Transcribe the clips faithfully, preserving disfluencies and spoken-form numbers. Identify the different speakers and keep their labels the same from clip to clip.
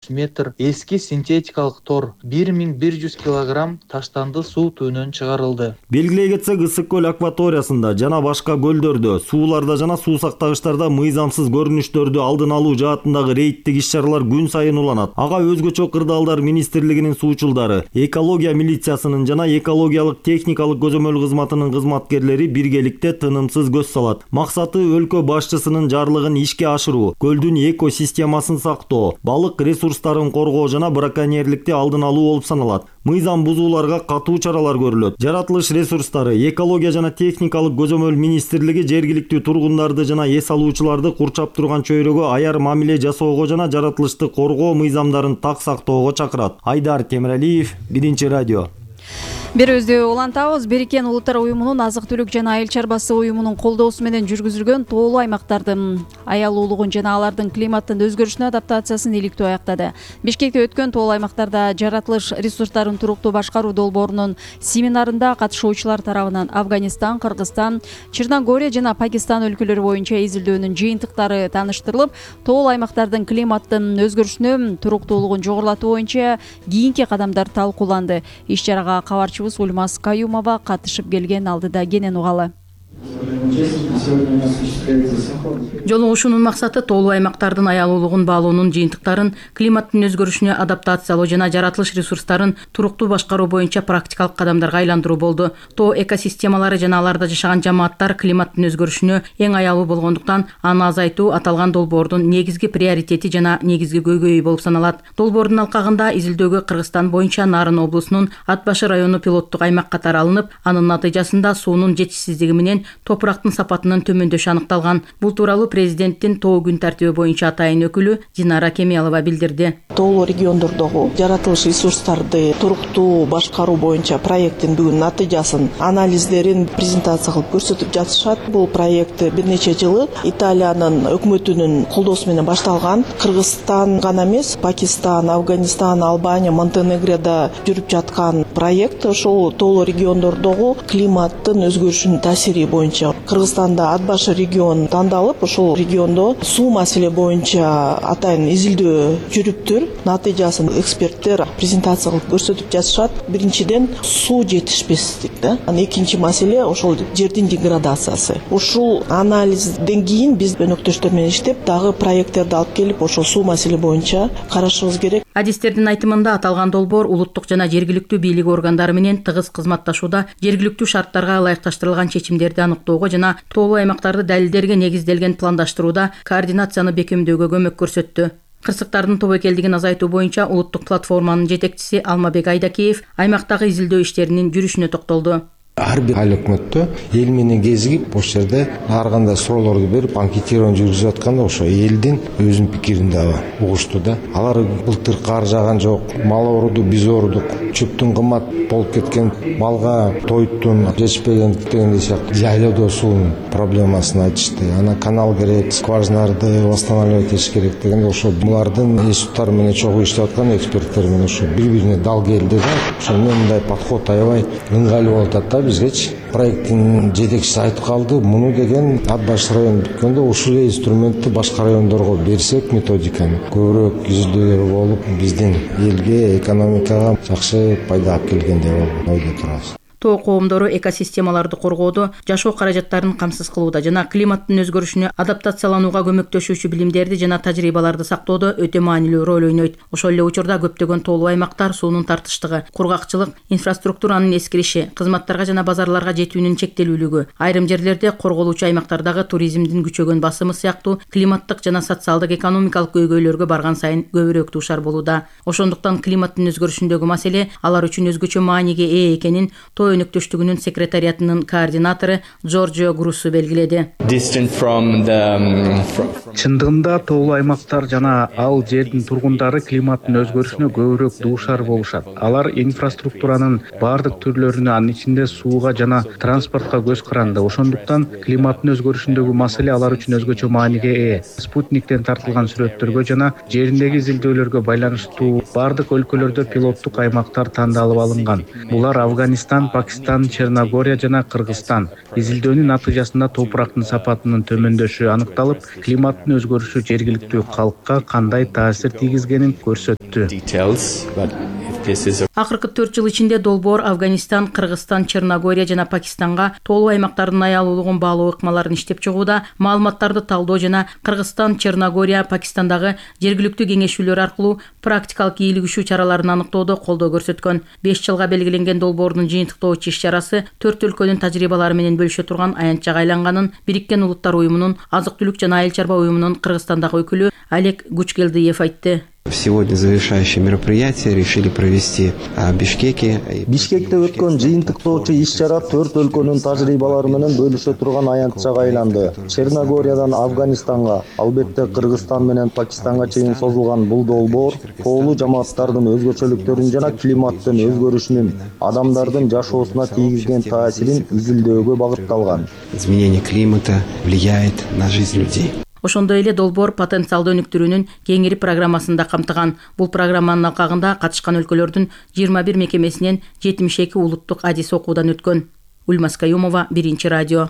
Speaker 1: метр эски синтетикалык тор бир миң бир жүз килограмм таштанды суу түбүнөн чыгарылды.
Speaker 2: Белгилей кетсек, Ысык көл акваториясында жана башка көлдөрдө, сууларда жана суу сактагычтарда мыйзамсыз көрүнүштөрдү алдын алуу жаатындагы рейдтик иш-чаралар күн сайын уланат. Ага өзгөчө кырдаалдар министрлигинин суучулдары, экология милициясынын жана экологиялык техникалык көзөмөл кызматынын кызматкерлери биргеликте тынымсыз көз салат. Максаты өлкө башчысынын жарлыгын ишке ашыруу, көлдүн экосистемасын сактоо, балык ресурстарын коргоо жана браконьерликти алдын алуу болуп саналат. Мыйзам бузууларга катуу чаралар көрүлөт. Жаратылыш ресурстары, экология жана техникалык көзөмөл министрлиги жергиликтүү тургундарды жана эс алуучуларды курчап турган чөйрөгө аяр мамиле жасоого жана жаратылышты коргоо мыйзамдарын так сактоого чакырат. Айдар Темиралиев, Биринчи радио.
Speaker 3: Берүүбүздү улантабыз. Бириккен Улуттар уюмунун азык-түлүк жана айыл чарбасы уюмунун колдоосу менен жүргүзүлгөн тоолуу аймактардын аялуулугун жана алардын климаттын өзгөрүшүнө адаптациясын иликтөө аяктады. Бишкекте өткөн тоолуу аймактарда жаратылыш ресурстарын туруктуу башкаруу долбоорунун семинарында катышуучулар тарабынан Афганистан, Кыргызстан, Черногория жана Пакистан өлкөлөрү боюнча изилдөөнүн жыйынтыктары тааныштырылып, тоолуу аймактардын климаттын өзгөрүшүнө туруктуулугун жогорулатуу боюнча кийинки кадамдар талкууланды. Иш-чарага кабарчы Ульмас Каюмова катышып келген, алдыда кенен угалы.
Speaker 4: Жолугушуунун максаты тоолуу аймактардын аялуулугун баалоонун жыйынтыктарын климаттын өзгөрүшүнө адаптациялоо жана жаратылыш ресурстарын туруктуу башкаруу боюнча практикалык кадамдарга айландыруу болду. Тоо экосистемалары жана аларда жашаган жамааттар климаттын өзгөрүшүнө эң аялуу болгондуктан аны азайтуу аталган долбоордун негизги приоритети жана негизги көйгөйү болуп саналат. Долбоордун алкагында изилдөөгө Кыргызстан боюнча Нарын облусунун Ат башы району пилоттук аймак катары алынып, анын натыйжасында суунун жетишсиздиги менен топурактын сапатынын төмөндөшү аныкталган. Бул тууралуу президенттин тоо күн тартиби боюнча атайын өкүлү Динара Кемиялова билдирди.
Speaker 5: Тоолуу региондордогу жаратылыш ресурстарды туруктуу башкаруу боюнча проекттин бүгүн натыйжасын, анализдерин презентация кылып көрсөтүп жатышат. Бул проект бир нече жылы Италиянын өкмөтүнүн колдоосу менен башталган. Кыргызстан гана эмес, Пакистан, Афганистан, Албания, Монтенегрода жүрүп жаткан проект. Ошол тоолуу региондордогу климаттын өзгөрүшүнүн таасири боюнча Кыргызстанда Ат башы регион тандалып, ошол региондо суу маселе боюнча атайын изилдөө жүрүптүр. Натыйжасын эксперттер презентация кылып көрсөтүп жатышат. Биринчиден суу жетишпестик да. Экинчи маселе ошол жердин деградациясы. Ушул анализден кийин биз өнөктөштөр менен иштеп, дагы проекттерди алып келип, ошол суу маселе боюнча карашыбыз керек.
Speaker 4: Адистердин айтымында аталган долбоор улуттук жана жергиликтүү бийлик органдары менен тыгыз кызматташууда жергиликтүү шарттарга ылайыкташтырылган чечимдерди аныктоого жана тоолуу аймактарды далилдерге негизделген пландаштырууда координацияны бекемдөөгө көмөк көрсөттү. Кырсыктардын тобокелдигин азайтуу боюнча улуттук платформанын жетекчиси Алмабек Айдакеев аймактагы изилдөө иштеринин жүрүшүнө токтолду.
Speaker 6: Ар бир айыл өкмөттө эл менен кезигип, ошол жерде ар кандай суроолорду берип, анкетирование жүргүзүп атканда ошо элдин өзүнүн пикирин дагы угушту да. Алар былтыр кар жааган жок, мал ооруду, биз оорудук, чөптүн кымбат болуп кеткен, малга тоюттун жетишпеген дегендей сыяктуу жайлоодо суунун проблемасын айтышты. Ана канал керек, скважиналарды восстанавливать этиш керек дегенде ошо булардын институттары менен чогуу иштеп аткан эксперттер менен ошо бири-бирине дал келди да. Ошо мындай подход аябай ыңгайлуу болуп атат да. Бизгечи проекттин жетекчиси айтып калды, муну деген Ат башы району бүткөндө ушул инструментти башка райондорго берсек, методиканы көбүрөөк изилдөөлөр болуп, биздин элге, экономикага жакшы пайда алып келгендей болуп ойдо турабыз.
Speaker 4: Тоо коомдору экосистемаларды коргоодо, жашоо каражаттарын камсыз кылууда жана климаттын өзгөрүшүнө адаптацияланууга көмөктөшүүчү билимдерди жана тажрыйбаларды сактоодо өтө маанилүү роль ойнойт. Ошол эле учурда көптөгөн тоолуу аймактар суунун тартыштыгы, кургакчылык, инфраструктуранын эскириши, кызматтарга жана базарларга жетүүнүн чектелүүлүгү, айрым жерлерде корголуучу аймактардагы туризмдин күчөгөн басымы сыяктуу климаттык жана социалдык экономикалык көйгөйлөргө барган сайын көбүрөөк дуушар болууда. Ошондуктан климаттын өзгөрүшүндөгү маселе алар үчүн өзгөчө мааниге ээ экенин өнөктөштүгүнүн секретариатынын координатору Джорджио Груссу белгиледи.
Speaker 7: Чындыгында тоолуу аймактар жана ал жердин тургундары климаттын өзгөрүшүнө көбүрөөк дуушар болушат. Алар инфраструктуранын баардык түрлөрүнө, анын ичинде сууга жана транспортко көз каранды. Ошондуктан климаттын өзгөрүшүндөгү маселе алар үчүн өзгөчө мааниге ээ. Спутниктен тартылган сүрөттөргө жана жериндеги изилдөөлөргө байланыштуу баардык өлкөлөрдө пилоттук аймактар тандалып алынган. Булар Афганистан, Пакистан, Черногория жана Кыргызстан. Изилдөөнүн натыйжасында топурактын сапатынын төмөндөшү аныкталып, климаттын өзгөрүшү жергиликтүү калкка кандай таасир тийгизгенин көрсөттү.
Speaker 4: Акыркы төрт жыл ичинде долбоор Афганистан, Кыргызстан, Черногория жана Пакистанга тоолуу аймактардын аялуулугун баалоо ыкмаларын иштеп чыгууда, маалыматтарды талдоо жана Кыргызстан, Черногория, Пакистандагы жергиликтүү кеңешүүлөр аркылуу практикалык ийгилигишүү чараларын аныктоодо колдоо көрсөткөн. беш жылга белгиленген долбоордун жыйынтыктоочу иш-чарасы төрт өлкөнүн тажрыйбалары менен бөлүшө турган аянтчага айланганын Бириккен Улуттар уюмунун азык түлүк жана айыл чарба уюмунун Кыргызстандагы өкүлү Олег Гучкелдиев айтты.
Speaker 8: Сегодня завершающее мероприятие решили провести в Бишкеке.
Speaker 2: Бишкекте өткөн жыйынтыктоочу иш-чара төрт өлкөнүн тажрыйбалары менен бөлүшө турган аянтчага айланды. Черногориядан Афганистанга, албетте Кыргызстан менен Пакистанга чейин созулган бул долбоор тоолуу жамааттардын өзгөчөлүктөрүн жана климаттын өзгөрүшүнүн адамдардын жашоосуна тийгизген таасирин изилдөөгө багытталган.
Speaker 8: Изменение климата влияет на жизнь людей.
Speaker 4: Ошондой эле долбоор потенциалдуу өнүктүрүүнүн кеңири программасында камтыган. Бул программанын алкагында катышкан өлкөлөрдүн жыйырма бир мекемесинен жетимиш эки улуттук адис окуудан өткөн. Ульмас Каюмова, Биринчи радио.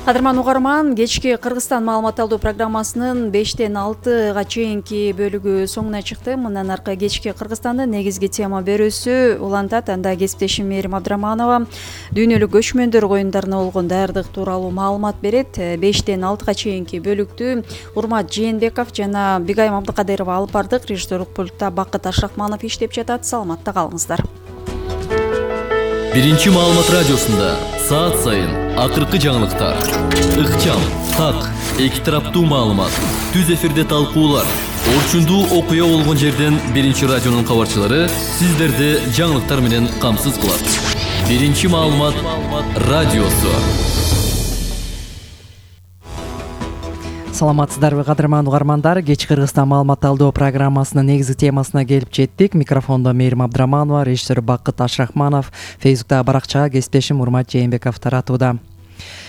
Speaker 3: Кадырман угарман, кечки Кыргызстан маалымат алуу программасынын бештен алтыга чейинки бөлүгү соңуна чыкты. Мындан аркы кечки Кыргызстандын негизги тема берүүсү улантат. Анда кесиптешим Мээрим Абдраманова дүйнөлүк көчмөндөр оюндарына болгон даярдык тууралуу маалымат берет. бештен алтыга чейинки бөлүктү Урмат Жээнбеков жана Бигайым Абдыкадырова алып бардык. Режиссерлук пультта Бакыт Ашрахманов иштеп жатат. Саламатта калыңыздар.
Speaker 9: Биринчи маалымат радиосунда саат сайын акыркы жаңылыктар, ыкчам, так, эки тараптуу маалымат, түз эфирде талкуулар, орчундуу окуя болгон жерден Биринчи радионун кабарчылары сиздерди жаңылыктар менен камсыз кылат. Биринчи маалымат радиосу.
Speaker 10: Саламатсыздарбы кадырман угармандар, кечки Кыргызстан маалымат алуу программасынын негизги темасына келип жеттик. Микрофондо Мээрим Абдраманова, режиссер Бакыт Ашрахманов, Фейсбуктагы баракчага кесиптешим Урмат Жээнбеков таратууда.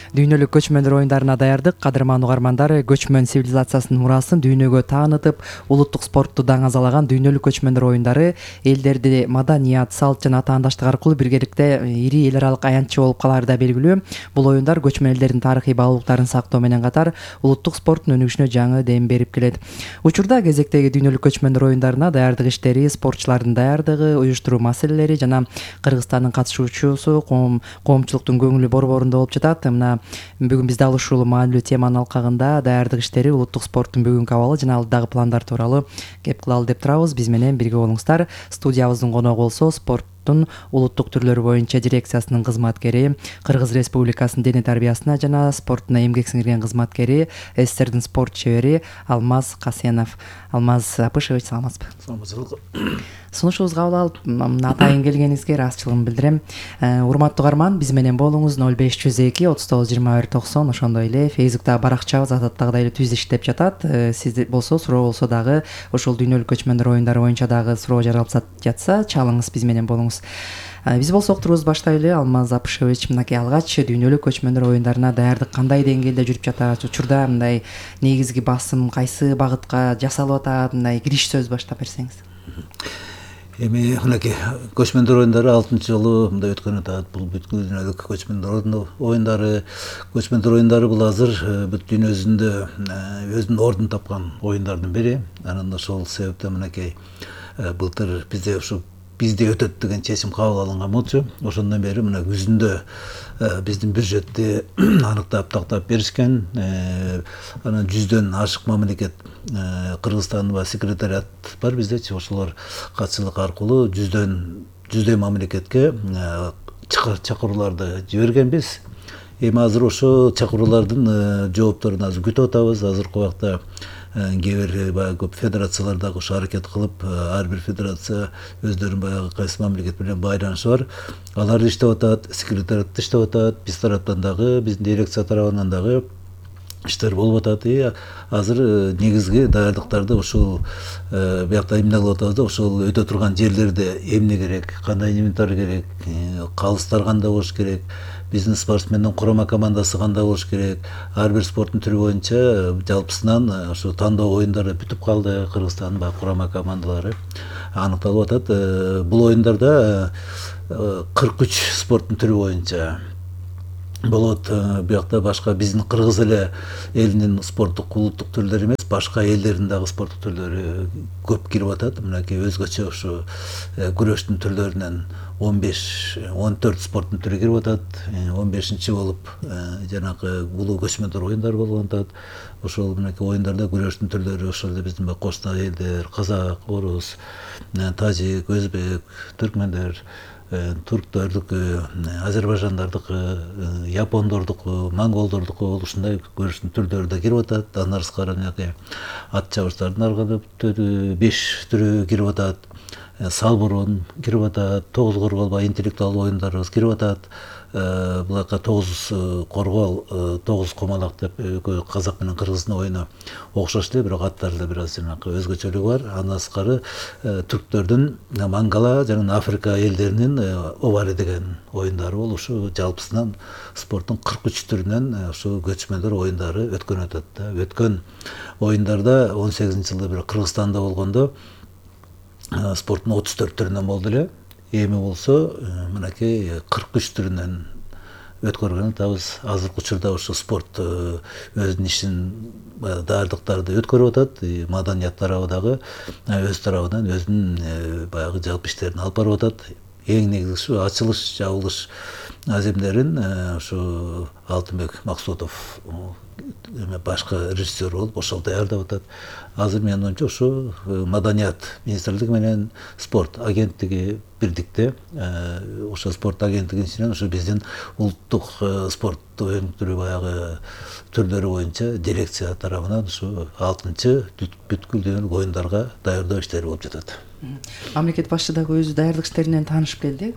Speaker 10: Дүйнөлүк көчмөндөр оюндарына даярдык. Кадырман угармандар, көчмөн цивилизациясынын мурасын дүйнөгө таанытып, улуттук спортту даңазалаган дүйнөлүк көчмөндөр оюндары элдерди маданият, салт жана атаандаштык аркылуу биргеликте ири эл аралык аянтчы болуп калары да белгилүү. Бул оюндар көчмөн элдердин тарыхый баалуулуктарын сактоо менен катар улуттук спорттун өнүгүшүнө жаңы дем берип келет. Учурда кезектеги дүйнөлүк көчмөндөр оюндарына даярдык иштери, спортчулардын даярдыгы, уюштуруу маселелери жана Кыргызстандын катышуучусу коомчулуктун көңүлү борборунда болуп жатат. Мына бүгүн биз дал ушул маанилүү теманын алкагында даярдык иштери, улуттук спорттун бүгүнкү абалы жана алдыдагы пландар тууралуу кеп кылалы деп турабыз. Биз менен бирге болуңуздар. Студиябыздын коногу болсо спорттун улуттук түрлөрү боюнча дирекциясынын кызматкери, Кыргыз Республикасынын дене тарбиясына жана спорттуна эмгек сиңирген кызматкери, СССРдин спорт чебери Алмаз Касенов. Алмаз Апышевич, саламатсызбы?
Speaker 11: Саламатсызбы.
Speaker 10: Сунушубузду кабыл алып, атайын келгениңизге ыраазычылыгымды билдирем. Урматтуу угарман, биз менен болуңуз. ноль беш жүз эки отуз тогуз жыйырма бир токсон. Ошондой эле Фейсбуктагы баракчабыз адаттагыдай эле түз иштеп жатат. Сиз болсо суроо болсо дагы ошол дүйнөлүк көчмөндөр оюндары боюнча дагы суроо жаралып жатса, чалыңыз, биз менен болуңуз. Биз болсо уктурубузду баштайлы. Алмаз Апышевич, мынакей алгач дүйнөлүк көчмөндөр оюндарына даярдык кандай деңгээлде жүрүп жатат? Учурда мындай негизги басым кайсы багытка жасалып атат? Мындай кириш сөз баштап берсеңиз.
Speaker 11: Эми мынакей көчмөндөр оюндары алтынчы жолу мындай өткөн атат. Бул бүткүл дүйнөлүк көчмөндөр оюндары, көчмөндөр оюндары бул азыр бүт дүйнө жүзүндө өзүнүн ордун тапкан оюндардын бири. Анан ошол себептен мынакей былтыр бизде ушу бизде өтөт деген чечим кабыл алынган болчу. Ошондон бери мына күзүндө биздин бюджетти аныктап тактап беришкен. Анан жүздөн ашык мамлекет Кыргызстанда секретариат бар биздечи. Ошолор катчылык аркылуу жүздөн жүздөй мамлекетке чакырууларды жибергенбиз. Эми азыр ошо чакыруулардын жоопторун азыр күтүп атабыз. Азыркы убакта кээ бир баягы көп федерациялар дагы ошо аракет кылып, ар бир федерация өздөрүнүн баягы кайсы мамлекет менен байланышы бар. Алар иштеп атат, секретариат иштеп атат, биз тараптан дагы, биздин дирекция тарабынан дагы иштер болуп атат. И азыр негизги даярдыктарды ушул биякта эмне кылып атабыз да, ушул өтө турган жерлерде эмне керек, кандай инвентарь керек, калыстар кандай болуш керек, биздин спортсмендин курама командасы кандай болуш керек, ар бир спорттун түрү боюнча жалпысынан ошо тандоо оюндары бүтүп калды. Кыргызстандын баягы курама командалары аныкталып атат. Бул оюндарда кырк үч спорттун түрү боюнча болот. Буякта башка биздин кыргыз эле элинин спорттук улуттук түрлөрү эмес, башка элдердин дагы спорттук түрлөрү көп кирип атат. Мынакей өзгөчө ушу күрөштүн түрлөрүнөн он беш он төрт спорттун түрү кирип атат. он бешинчи болуп жанагы улуу көчмөндөр оюндары болгон атат. Ошол мынакей оюндарда күрөштүн түрлөрү ошол эле биздин кошуна элдер, казак, орус, тажик, өзбек, түркмөндөр, турктардыкы, азербайжандардыкы, япондордуку, монголдордуку ушундай күрөштүн түрлөрү да кирип атат. Андан сырткары мынакей ат чабыштардын ар кандай беш түрү кирип атат. Салбурун кирип атат, тогуз коргол баягы интеллектуалдуу оюндарыбыз кирип атат. Булакка тогуз коргол, тогуз комалак деп казак менен кыргыздын оюну окшош эле, бирок аттарында бир аз жанагы өзгөчөлүгү бар. Андан сырткары түрктөрдүн мангала жана Африка элдеринин овари деген оюндары бол ушу жалпысынан спорттун кырк үч түрүнөн ушу көчмөндөр оюндары өткөн атат да. Өткөн оюндарда он сегизинчи жылы бир Кыргызстанда болгондо спорттун отуз төрт түрүнөн болду эле. Эми болсо мынакей кырк үч түрүнөн өткөргөн атабыз. Азыркы учурда ушу спорт өзүнүн ишин даярдыктарды өткөрүп атат. Маданият тарабы дагы өз тарабынан өзүнүн баягы жалпы иштерин алып барып атат. Эң негизгиси ачылыш, жабылыш аземдерин ушу Алтынбек Максутов башкы режиссер болуп ошол даярдап атат. Азыр менин оюмча ушу Маданият министрлиги менен спорт агенттиги бирдикте ошо спорт агенттигинин ичинен ушу биздин улуттук спорт оюндары баягы түрлөрү боюнча дирекция тарабынан ушу алтынчы бүткүл дүйнөлүк оюндарга даярдоо иштери болуп жатат.
Speaker 10: Мамлекет башчы дагы өзү даярдык иштеринен таанышып келди.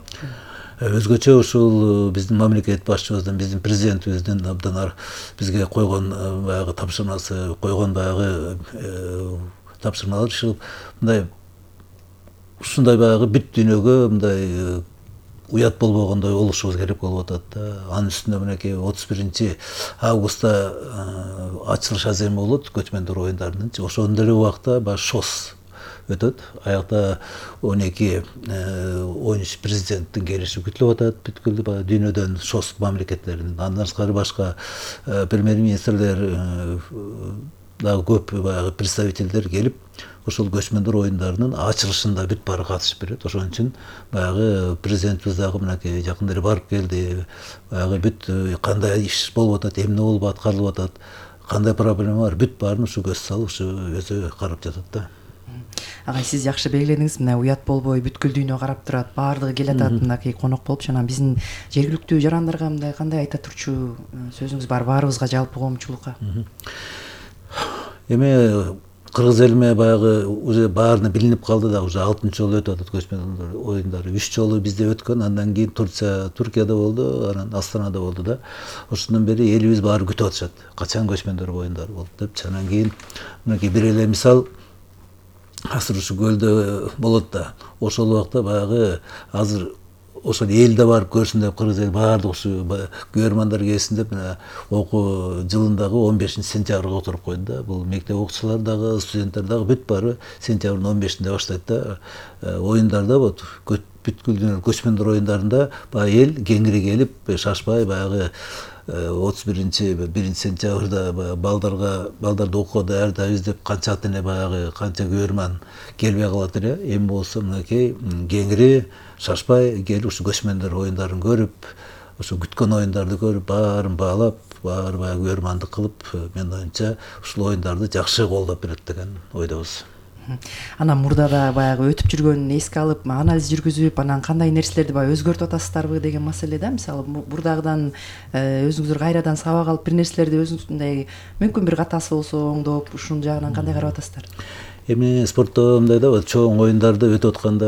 Speaker 11: Өзгөчө ушул биздин мамлекет башчыбыздын, биздин президентибиздин абдан бизге койгон баягы тапшырмасы, койгон баягы тапшырмалар ушул мындай ушундай баягы бүт дүйнөгө мындай уят болбогондой болушубуз керек болуп атат да. Анын үстүнө мынакей отуз биринчи августта ачылыш аземи болот көчмөндөр оюндарынын. Ошондой эле убакта баягы ШОС өтөт. Аякта он эки он үч президенттин келиши күтүлүп атат. Бүткүл баягы дүйнөдөн ШОС мамлекеттеринин. Андан сырткары башка премьер-министрлер дагы көп баягы представительдер келип, ошол көчмөндөр оюндарынын ачылышында бүт баары катышып берет. Ошон үчүн баягы президентибиз дагы мынакей жакында эле барып келди. Баягы бүт кандай иш болуп атат, эмне болуп аткарылып атат, кандай проблема бар, бүт баарын ушу көз салып, ушу өзү карап жатат да.
Speaker 10: Агай, сиз жакшы белгиледиңиз, мына уят болбой бүткүл дүйнө карап турат, баардыгы келатат мынакей конок болуп, жана биздин жергиликтүү жарандарга мындай кандай айта турчу сөзүңүз бар, баарыбызга, жалпы коомчулукка? Эми
Speaker 11: кыргыз элиме баягы уже баарына билинип калды да, уже алтынчы жолу өтүп атат көчмөндөр оюндары. үч жолу бизде өткөн, андан кийин Турция, Туркияда болду, анан Астанада болду да. Ошондон бери элибиз баары күтүп атышат. Качан көчмөндөр оюндары болот деп. Анан кийин мынакей бир эле мисал азыр ушу көлдө болот да. Ошол убакта баягы азыр ошол элде барып көрсүн деп кыргыз эл баардык ушу көрөрмандар келсин деп мына окуу жылындагы он бешинчи сентябрга отуруп койду да. Бул мектеп окуучулары дагы, студенттер дагы бүт баары сентябрдын он бешинде баштайт да. Оюндарда вот бүткүл дүйнөлүк көчмөндөр оюндарында баягы эл кеңири келип, шашпай баягы отуз биринчи биринчи сентябрда балдарга балдарды окууга даярдайбыз деп канча ата эне баягы канча көрөрман келбей калат эле. Эми болсо мынакей кеңири шашпай келип ушу көчмөндөр оюндарын көрүп, ошо күткөн оюндарды көрүп, баарын баалап, баары баягы көрөрмандык кылып, менин оюмча ушул оюндарды жакшы колдоп берет деген ойдобуз.
Speaker 10: Анан мурдада баягы өтүп жүргөнүн эске алып, анализ жүргүзүп, анан кандай нерселерди баягы өзгөртүп атасыздарбы деген маселе да. Мисалы бурдагыдан өзүңүздөр кайрадан сабак алып бир нерселерди өзүңүздөй мүмкүн бир катасы болсо оңдоп, ушунун жагынан кандай карап атасыздар?
Speaker 11: Эми спортто мындай да чоң оюндарды өтүп атканда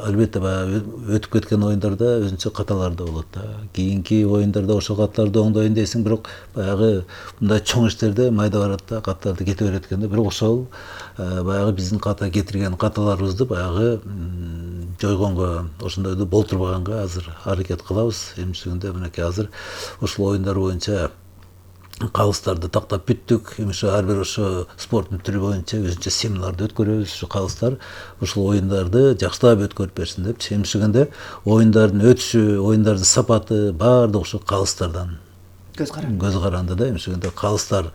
Speaker 11: албетте баягы өтүп кеткен оюндарда өзүнчө каталар да болот да. Кийинки оюндарда ошол каталарды оңдойн дейсиң, бирок баягы мындай чоң иштерде майда барат да, каталарды кете берет экен да. Бирок ошол баягы биздин ката кетирген каталарыбызды баягы жойгонго, ошондойду болтурбаганга азыр аракет кылабыз. Эмчегинде мынакей азыр ушул оюндар боюнча калыстарды тактап бүттүк. Эми ошо ар бир ошо спорттун түрү боюнча өзүнчө семинарды өткөрөбүз. Ушу калыстар ушул оюндарды жакшылап өткөрүп берсин депчи. Эмчегинде оюндардын өтүшү, оюндардын сапаты баардыгы ошо калыстардан көз каранды. Көз каранды да. Эмчегинде калыстар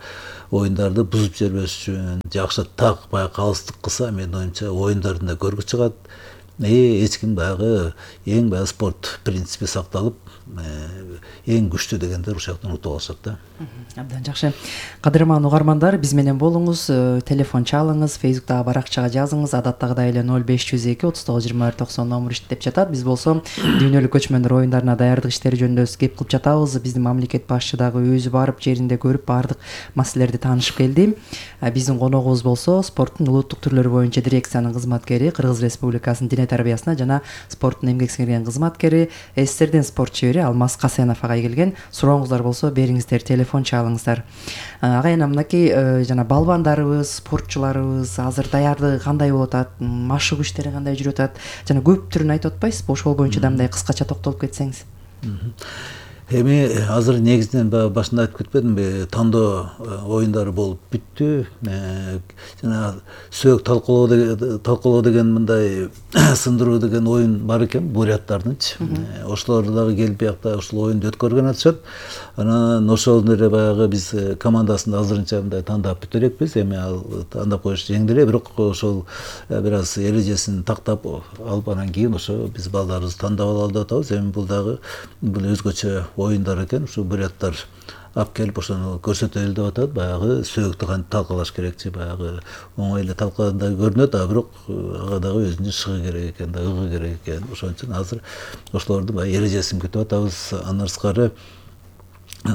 Speaker 11: оюндарды бузуп жибербеш үчүн жакшы так баягы калыстык кылса, менин оюмча оюндардын да көркү чыгат. Эч ким баягы эң баягы спорт принципи сакталып, эң күчтүү дегендер ушул жактан утуп алышат да.
Speaker 10: Абдан жакшы. Кадырман угармандар, биз менен болуңуз, телефон чалыңыз, Facebook'тагы баракчага жазыңыз. Адаттагыдай эле ноль беш жүз эки отуз тогуз жыйырма бир токсон номер иштеп жатат. Биз болсо дүйнөлүк көчмөндөр оюндарына даярдык иштери жөнүндө кеп кылып жатабыз. Биздин мамлекет башчы дагы өзү барып жеринде көрүп баардык маселелерди таанышып келди. Биздин коногубуз болсо спорттун улуттук түрлөрү боюнча дирекциянын кызматкери, Кыргыз Республикасынын дене тарбиясына жана спорттун эмгек сиңирген кызматкери, СССРдин спорт чебери Алмаз Касенов агай келген. Сурооңуздар болсо бериңиздер, телефон чалыңыздар. Агайына мынакей жана балбандарыбыз, спортчуларыбыз азыр даярдыгы кандай болуп атат, машыгуу иштери кандай жүрүп атат, жана көп түрүн айтып атпайсызбы? Ошол боюнча да мындай кыскача токтолуп кетсеңиз.
Speaker 11: Эми азыр негизинен башында айтып кетпедимби, тандоо оюндары болуп бүттү. Жана сөөк талкуулоо деген талкуулоо деген мындай сындыруу деген оюн бар экен буряттардынчы. Ошолор дагы келип биякта ушул оюнду өткөргөн атышат. Анан ошол эле баягы биз командасында азырынча мындай тандап бүтө элекпиз. Эми ал тандап коюш жеңил эле, бирок ошол бир аз эрежесин тактап алып анан кийин ошо биз балдарыбызды тандап алалы деп атабыз. Эми бул дагы бул өзгөчө оюндар экен. Ушу буряттар алып келип ошону көрсөтөлү деп атат. Баягы сөөктү кантип талкалаш керекчи, баягы оңой эле талкагандай көрүнөт, а бирок ага дагы өзүнүн шыгы керек экен да, ыгы керек экен. Ошон үчүн азыр ошолордун баягы эрежесин күтүп атабыз. Андан сырткары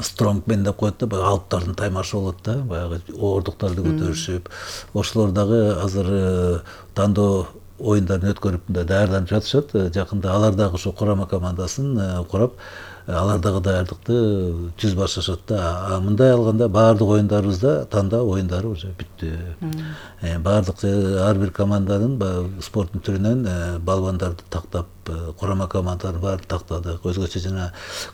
Speaker 11: стронгмен деп коет да, баягы алыптардын таймашы болот да, баягы оордуктарды көтөрүшүп, ошолор дагы азыр тандоо оюндарын өткөрүп мындай даярданып жатышат. Жакында алар дагы ошо курама командасын курап, алар дагы даярдыкты түз башташат да. Мындай алганда баардык оюндарыбызда тандоо оюндары уже бүттү. Баардык ар бир команданын спорттун түрүнөн балбандарды тактап, курама командаларын баарын тактадык. Өзгөчө жана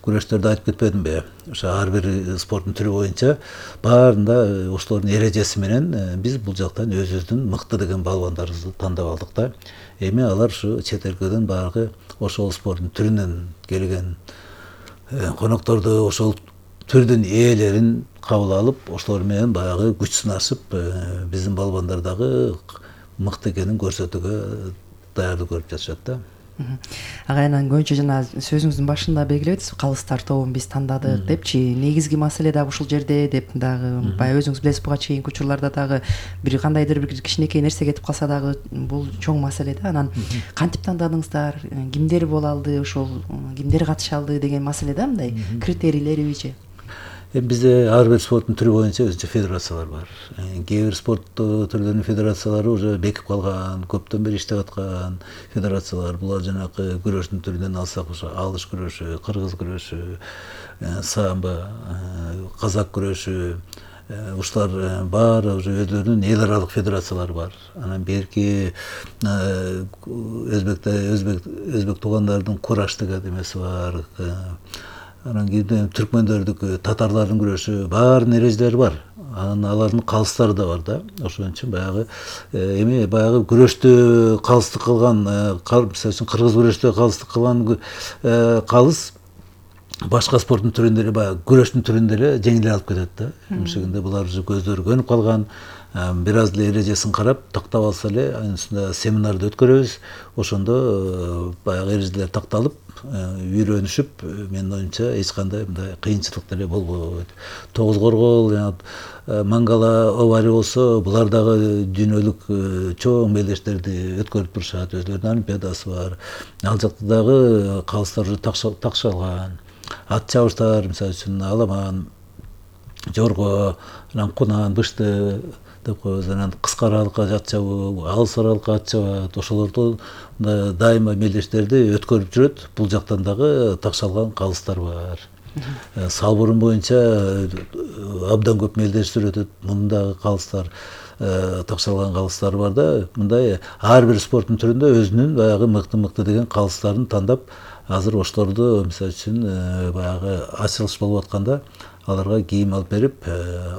Speaker 11: күрөштөрдө айтып кетпедимби? Ошо ар бир спорттун түрү боюнча баарында ошолордун эрежеси менен биз бул жактан өзүбүздүн мыкты деген балбандарыбызды тандап алдык да. Эми алар ушу чет өлкөдөн баягы ошол спорттун түрүнөн келген конокторду, ошол түрдүн ээлерин кабыл алып, ошолор менен баягы күч сынашып, биздин балбандар дагы мыкты экенин көрсөтүүгө даярдык көрүп жатышат да.
Speaker 10: Агайынан көбүнчө жана сөзүңүздүн башында белгилебедиз, калыстар тобун биз тандадык депчи. Негизги маселе дагы ушул жерде деп дагы баягы өзүңүз билесиз, буга чейинки учурларда дагы бир кандайдыр бир кичинекей нерсе кетип калса дагы бул чоң маселе да. Анан кантип тандадыңыздар, кимдер боло алды, ошол кимдер катыша алды деген маселе да, мындай критерийлерибичи.
Speaker 11: Бизде ар бир спорттун түрү боюнча өзүнчө федерациялар бар. Кээ бир спорт түрлөрүнүн федерациялары уже бекип калган, көптөн бери иштеп аткан федерациялар. Булар жанагы күрөштүн түрүнөн алсак, ошо алыш күрөшү, кыргыз күрөшү, самбо, казак күрөшү, ушулар баары уже өздөрүнүн эл аралык федерациялары бар. Анан берки өзбекте өзбек өзбек туугандардын кураш деген эмеси бар. Анан кийин түркмөндөрдүкү, татарлардын күрөшү, баарынын эрежелери бар. Анан алардын калыстары да бар да. Ошон үчүн баягы эми баягы күрөштө калыстык кылган, мисалы үчүн кыргыз күрөштө калыстык кылган калыс башка спорттун түрүндө эле, баягы күрөштүн түрүндө эле жеңил алып кетет да. Эмшегинде булар уже көздөрү көнүп калган, бир аз эле эрежесин карап тактап алса эле, анын үстүндө семинарды өткөрөбүз. Ошондо баягы эрежелер такталып, үйрөнүшүп, менин оюмча эч кандай мындай кыйынчылык деле болбойт. Тогуз коргол, мангала, овари болсо, булар дагы дүйнөлүк чоң белештерди өткөрүп турушат, өзлөрүнүн олимпиадасы бар. Ал жакта дагы калыстар уже такшалган. Ат чабыштар, мисалы үчүн аламан, жорго, анан кунан, бышты деп коебуз. Анан кыска аралыкка жатчабы, алыс аралыкка атчабы, ошолорду дайыма мелдештерди өткөрүп жүрөт. Бул жактан дагы такшалган калыстар бар. Салбурун боюнча абдан көп мелдештер өтөт. Мындагы калыстар, такшалган калыстар бар да, мындай ар бир спорттун түрүндө өзүнүн баягы мыкты-мыкты деген калыстарын тандап, азыр ошолорду мисалы үчүн баягы ачылыш болуп атканда аларга кийим алып берип,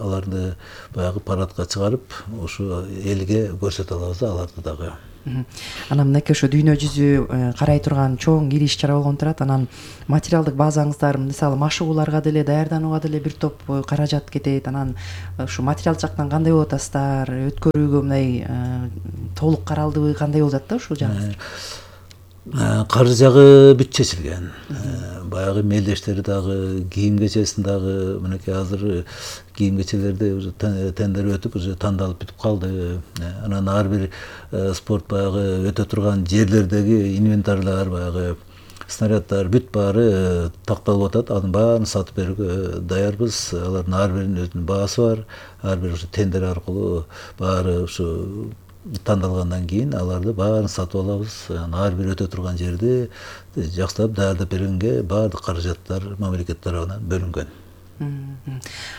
Speaker 11: аларды баягы парадка чыгарып, ушу элге көрсөтө алабыз да аларды дагы.
Speaker 10: Анан мынакей ошо дүйнө жүзү карай турган чоң ири иш чара болгон турат. Анан материалдык базаңыздар, мисалы машыгууларга деле, даярданууга деле бир топ каражат кетет. Анан ушу материал жактан кандай болуп атасыздар? Өткөрүүгө мындай толук каралдыбы, кандай болуп жатты ушул жагы?
Speaker 11: Каржы жагы бүт чечилген. Баягы мелдештери дагы, кийим кечесин дагы, мынакей азыр кийим кечелерди уже тендер өтүп, уже тандалып бүтүп калды. Анан ар бир спорт баягы өтө турган жерлердеги инвентарлар, баягы снаряддар бүт баары такталып атат. Анын баарын сатып берүүгө даярбыз. Алардын ар биринин өзүнүн баасы бар. Ар бир ушу тендер аркылуу баары ушу тандалгандан кийин аларды баарын сатып алабыз. Ар бир өтө турган жерди жакшылап даярдап бергенге баардык каражаттар мамлекет тарабынан бөлүнгөн.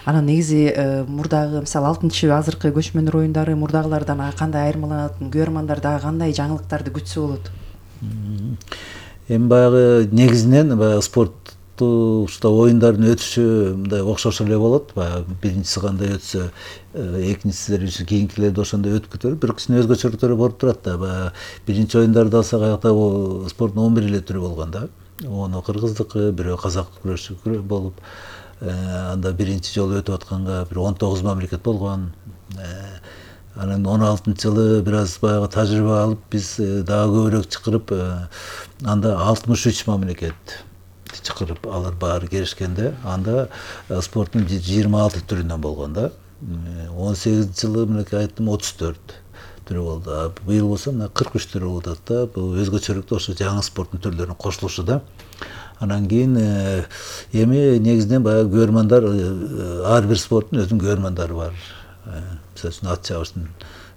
Speaker 10: Анан негизи мурдагы мисалы алтынчы азыркы көчмөндөр оюндары мурдагылардан кандай айырмаланат? Көрөрмандар дагы кандай жаңылыктарды күтсө болот?
Speaker 11: Эми баягы негизинен баягы спортту ушта оюндардын өтүшү мындай окшош эле болот. Баягы биринчиси кандай өтсө, экинчисилер кийинкилерди ошондой өтүп кетет. Бирок кичине өзгөчөлүктөрү болуп турат да. Баягы биринчи оюндарды алсак, аякта бул спорттун он бир эле түрү болгон да. Ону кыргыздыкы, бирөө казак күрөшү болуп, анда биринчи жолу өтүп атканга бир он тогуз мамлекет болгон. Анан он алтынчы жылы бир аз баягы тажрыйба алып, биз дагы көбүрөөк чакырып, анда алтымыш үч мамлекет чакырып, алар баары келишкенде, анда спорттун жыйырма алты түрүнөн болгон да. он сегизинчи жылы мынакей айттым отуз төрт түрү болду. Быйыл болсо мына кырк үч түрү болуп атат да. Бул өзгөчөлүктө ошо жаңы спорттун түрлөрүнүн кошулушу да. Анан кийин эми негизинен баягы көрөрмандар, ар бир спорттун өзүнүн көрөрмандары бар. Мисалы үчүн ат чабыштын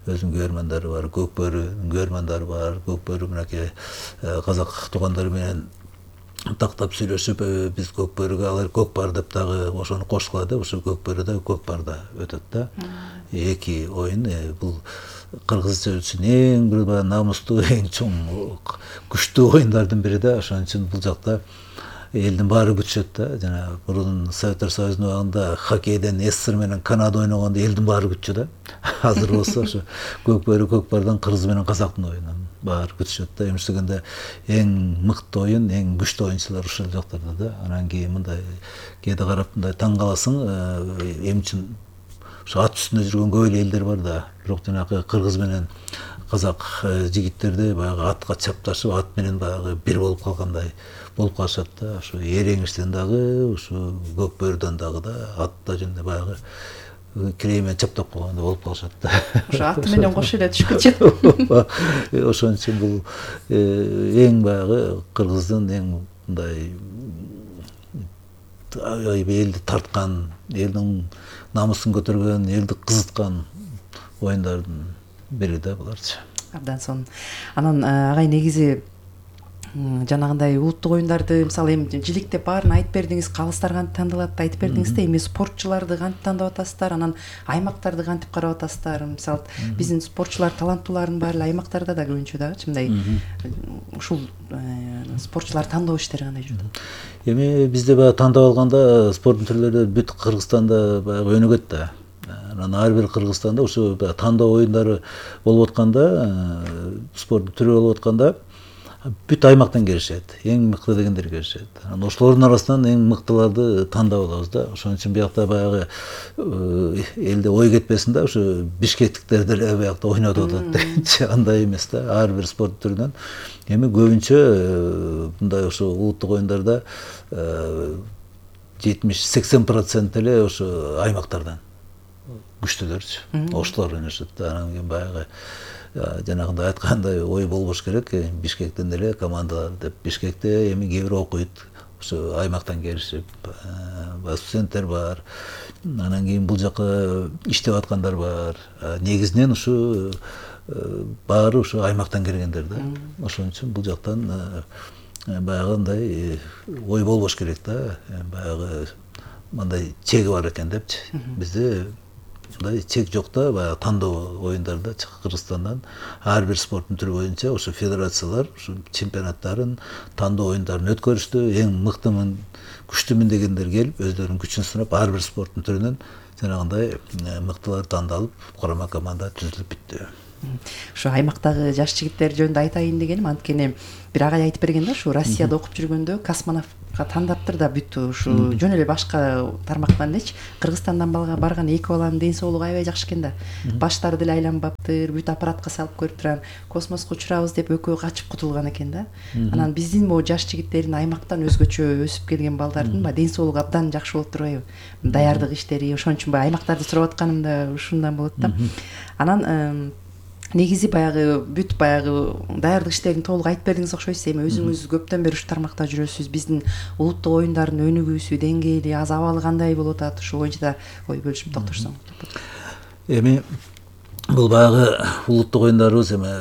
Speaker 11: өзүнүн көрөрмандары бар, көк бөрүнүн көрөрмандары бар. Көк бөрү мынакей казак туугандары менен тактап сүйлөшүп, биз көк бөрүгө алар көк бар деп дагы ошону кошкула деп, ошо көк бөрү да көк барда өтөт да. Эки оюн бул кыргызча үчүн эң бир баягы намустуу, эң чоң, күчтүү оюндардын бири да. Ошон үчүн бул жакта элдин баары күтүшөт да. Жана мурун Советтер Союзунун убагында хоккейден СССР менен Канада ойногондо элдин баары күтчү да. Азыр болсо ошо көк бөрү көк бардан кыргыз менен казактын оюнун баары күтүшөт да. Эместегенде эң мыкты оюн, эң күчтүү оюнчулар ушул жактарда да. Анан кийин мындай кээде карап мындай таң каласың, эми үчүн ошо ат үстүндө жүргөн көп эле элдер бар да. Бирок жанагы кыргыз менен казак жигиттерди баягы атка чапташып, ат менен баягы бир болуп калгандай болуп калышат да. Ошо эреңиштен дагы, ошо көк бөрүдөн дагы да, атта жөнүндө баягы кирей менен чаптап койгондой болуп калышат да.
Speaker 10: Ошо аты менен кошо эле түшкүнчү.
Speaker 11: Ошон үчүн бул эң баягы кыргыздын эң мындай элди тарткан, элдин намысын көтөргөн, элди кызыткан оюндардын бири да буларчы.
Speaker 10: Абдан сонун. Анан агай негизи жанагындай улуттук оюндарды мисалы эми жиликтеп баарын айтып бердиңиз, калыстар кантип тандалат айтып бердиңиз да, эми спортчуларды кантип тандап атасыздар, анан аймактарды кантип карап атасыздар? Мисалы биздин спортчулар таланттуулардын баары эле аймактарда да көбүнчө дагычы мындай ушул спортчулар тандоо иштери кандай жүрөт?
Speaker 11: Эми бизде баягы тандап алганда спорттун түрлөрү бүт Кыргызстанда баягы өнүгөт да. Анан ар бир Кыргызстанда ушу тандоо оюндары болуп атканда, спорттун түрү болуп атканда бүт аймактан келишет, эң мыкты дегендер келишет. Анан ошолордун арасынан эң мыктыларды тандап алабыз да. Ошон үчүн биякта баягы элде ой кетпесин да, ушу бишкектиктер деле биякта ойнотуп атат. Андай эмес да, ар бир спорт түрүнөн. Эми көбүнчө мындай ошо улуттук оюндарда жетимиш сексен процент эле ошо аймактардан күчтүүлөрчү. Ошолор ойношот да. Анан кийин баягы жанагындай айткандай ой болбош керек. Бишкектен эле командалар деп, Бишкекте эми кээ бир окуйт. ошо аймактан келишип, студенттер бар, анан кийин бул жака иштеп аткандар бар. Негизинен ушу баары ушу аймактан келгендер да. Ошон үчүн бул жактан баягы андай ой болбош керек да. Баягы мындай чеги бар экен депчи. Бизде мындай чек жок да. Баягы тандоо оюндарда Кыргызстандан ар бир спорттун түрү боюнча ошо федерациялар ушу чемпионаттарын, тандоо оюндарын өткөрүштү. Эң мыктымын, күчтүүмүн дегендер келип, өздөрүнүн күчүн сынап, ар бир спорттун түрүнөн жанагындай мыктылар тандалып, курама команда түзүлүп бүттү.
Speaker 10: Ушу аймактагы жаш жигиттер жөнүндө айтайын дегеним, анткени бир агай айтып берген да, ушу Россияда окуп жүргөндө космонавтка тандаттыр да бүттү. Ушу жөн эле башка тармактан элечи, Кыргызстандан барган эки баланын ден соолугу аябай жакшы экен да. Баштары деле айланбаптыр, бүт аппаратка салып көрүп турам, космоско учурабыз деп экөө качып кутулган экен да. Анан биздин могу жаш жигиттердин аймактан өзгөчө өсүп келген балдардын ден соолугу абдан жакшы болуп турбайбы? Даярдык иштери, ошон үчүн баягы аймактарды сурап атканым да ушундан болот да. Анан негизи баягы бүт баягы даярдык иштерин толук айтып бердиңиз окшойт. Эми өзүңүз көптөн бери ушу тармакта жүрөсүз. Биздин улуттук оюндардын өнүгүүсү, деңгээли, аз абалы кандай болуп атат? Ушул боюнча да ой бөлүшүп токтошсоң.
Speaker 11: Эми бул баягы улуттук оюндарыбыз эми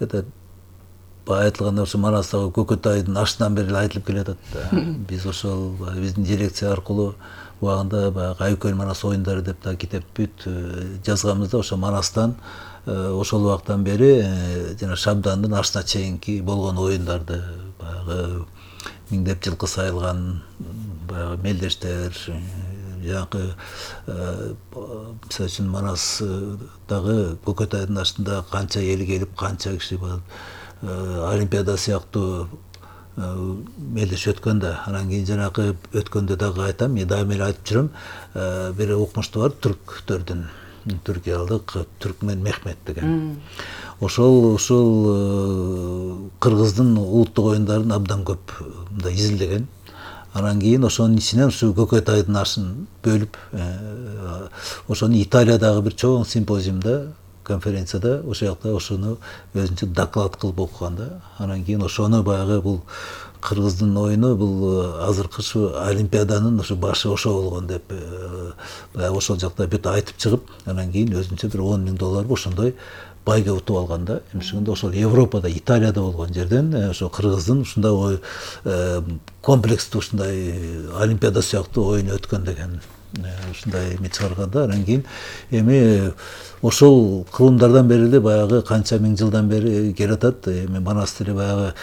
Speaker 11: это баягы айтылгандай ошо Манастагы Көкөтайдын ашынан бери айтылып келатат да. Биз ошол биздин дирекция аркылуу убагында баягы Айкөл Манас оюндары деп да китеп бүт жазганбыз да. Ошо Манастан ошол убактан бери жана Шабдандын ашына чейинки болгон оюндарды баягы миңдеп жылкы сайылган баягы мелдештер, жанакы мисалы үчүн Манастагы Көкөтайдын ашында канча эл келип, канча киши бар, Олимпиада сыяктуу мелдеш өткөн да. Анан кийин жанакы өткөндө дагы айтам, мен дайыма эле айтып жүрөм, бир укмуштуу бар түрктөрдүн, түркиялык Түркмен Мехмет деген. Ошол ушул кыргыздын улуттук оюндарын абдан көп мындай изилдеген. Анан кийин ошонун ичинен ушу Көкөтайдын ашын бөлүп, ошону Италиядагы бир чоң симпозиумда, конференцияда ошол жакта ошону өзүнчө доклад кылып окуган да. Анан кийин ошону баягы бул кыргыздын оюну бул азыркы ушу Олимпиаданын ушу башы ошо болгон деп баягы ошол жакта бүт айтып чыгып, анан кийин өзүнчө бир он миң доллар ошондой байга утуп алган да. Эмишегенде ошол Европада, Италияда болгон жерден ошо кыргыздын ушундай комплекстүү ушундай Олимпиада сыяктуу оюн өткөн деген ушундай эме чыгарганда. Анан кийин эми ошол кылымдардан бери эле баягы канча миң жылдан бери келатат. Эми Манас деле баягы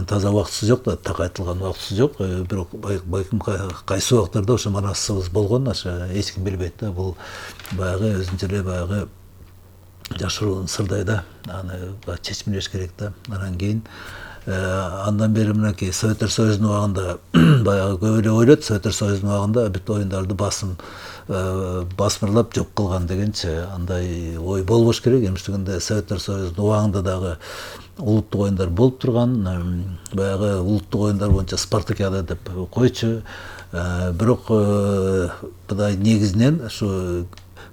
Speaker 11: таза убактысы жок да, так айтылган убактысы жок. Бирок байкым кайсы убактарда ошо Манасыбыз болгон, ошо эч ким билбейт да. Бул баягы өзүнчө эле баягы жашыруун сырдай да. Аны чечмелеш керек да. Анан кийин андан бери мынакей Советтер Союзунун убагында баягы көп эле ойлойт, Советтер Союзунун убагында бүт оюндарды басым басмырлап жок кылган дегенчи андай ой болбош керек. Эмиштигинде Советтер Союзунун убагында дагы улуттук оюндар болуп турган, баягы улуттук оюндар боюнча спартакиада деп койчу. Бирок мындай негизинен ушу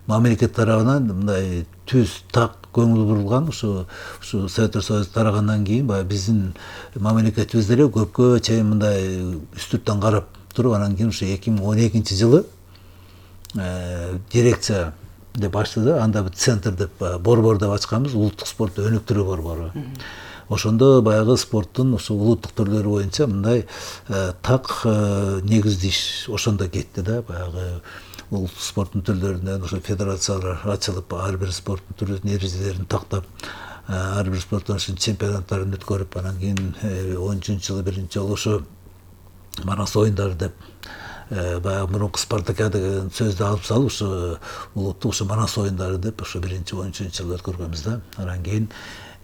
Speaker 11: мамлекет тарабынан мындай түз так көңүл бурулган. Ушу ушу Советтер Союзу тарагандан кийин баягы биздин мамлекетибиз деле көпкө чейин мындай үстүртөн карап туруп, анан кийин ушу эки миң он экинчи жылы дирекция деп ачты да. Анда бир центр деп борбор деп ачканбыз, улуттук спортту өнүктүрүү борбору. Ошондо баягы спорттун ушу улуттук түрлөрү боюнча мындай так негиздүү иш ошондо кетти да. Баягы улуттук спорттун түрлөрүнөн ошо федерациялар ачылып, ар бир спорттун түрүнүн эрежелерин тактап, ар бир спорттун чемпионаттарын өткөрүп, анан кийин он үчүнчү жылы биринчи жолу ошо Манас оюндары деп баягы мурунку спартакиада деген сөздү алып салып, ошо улуттук ошо Манас оюндары деп ошо биринчи он үчүнчү жылы өткөргөнбүз да. Анан кийин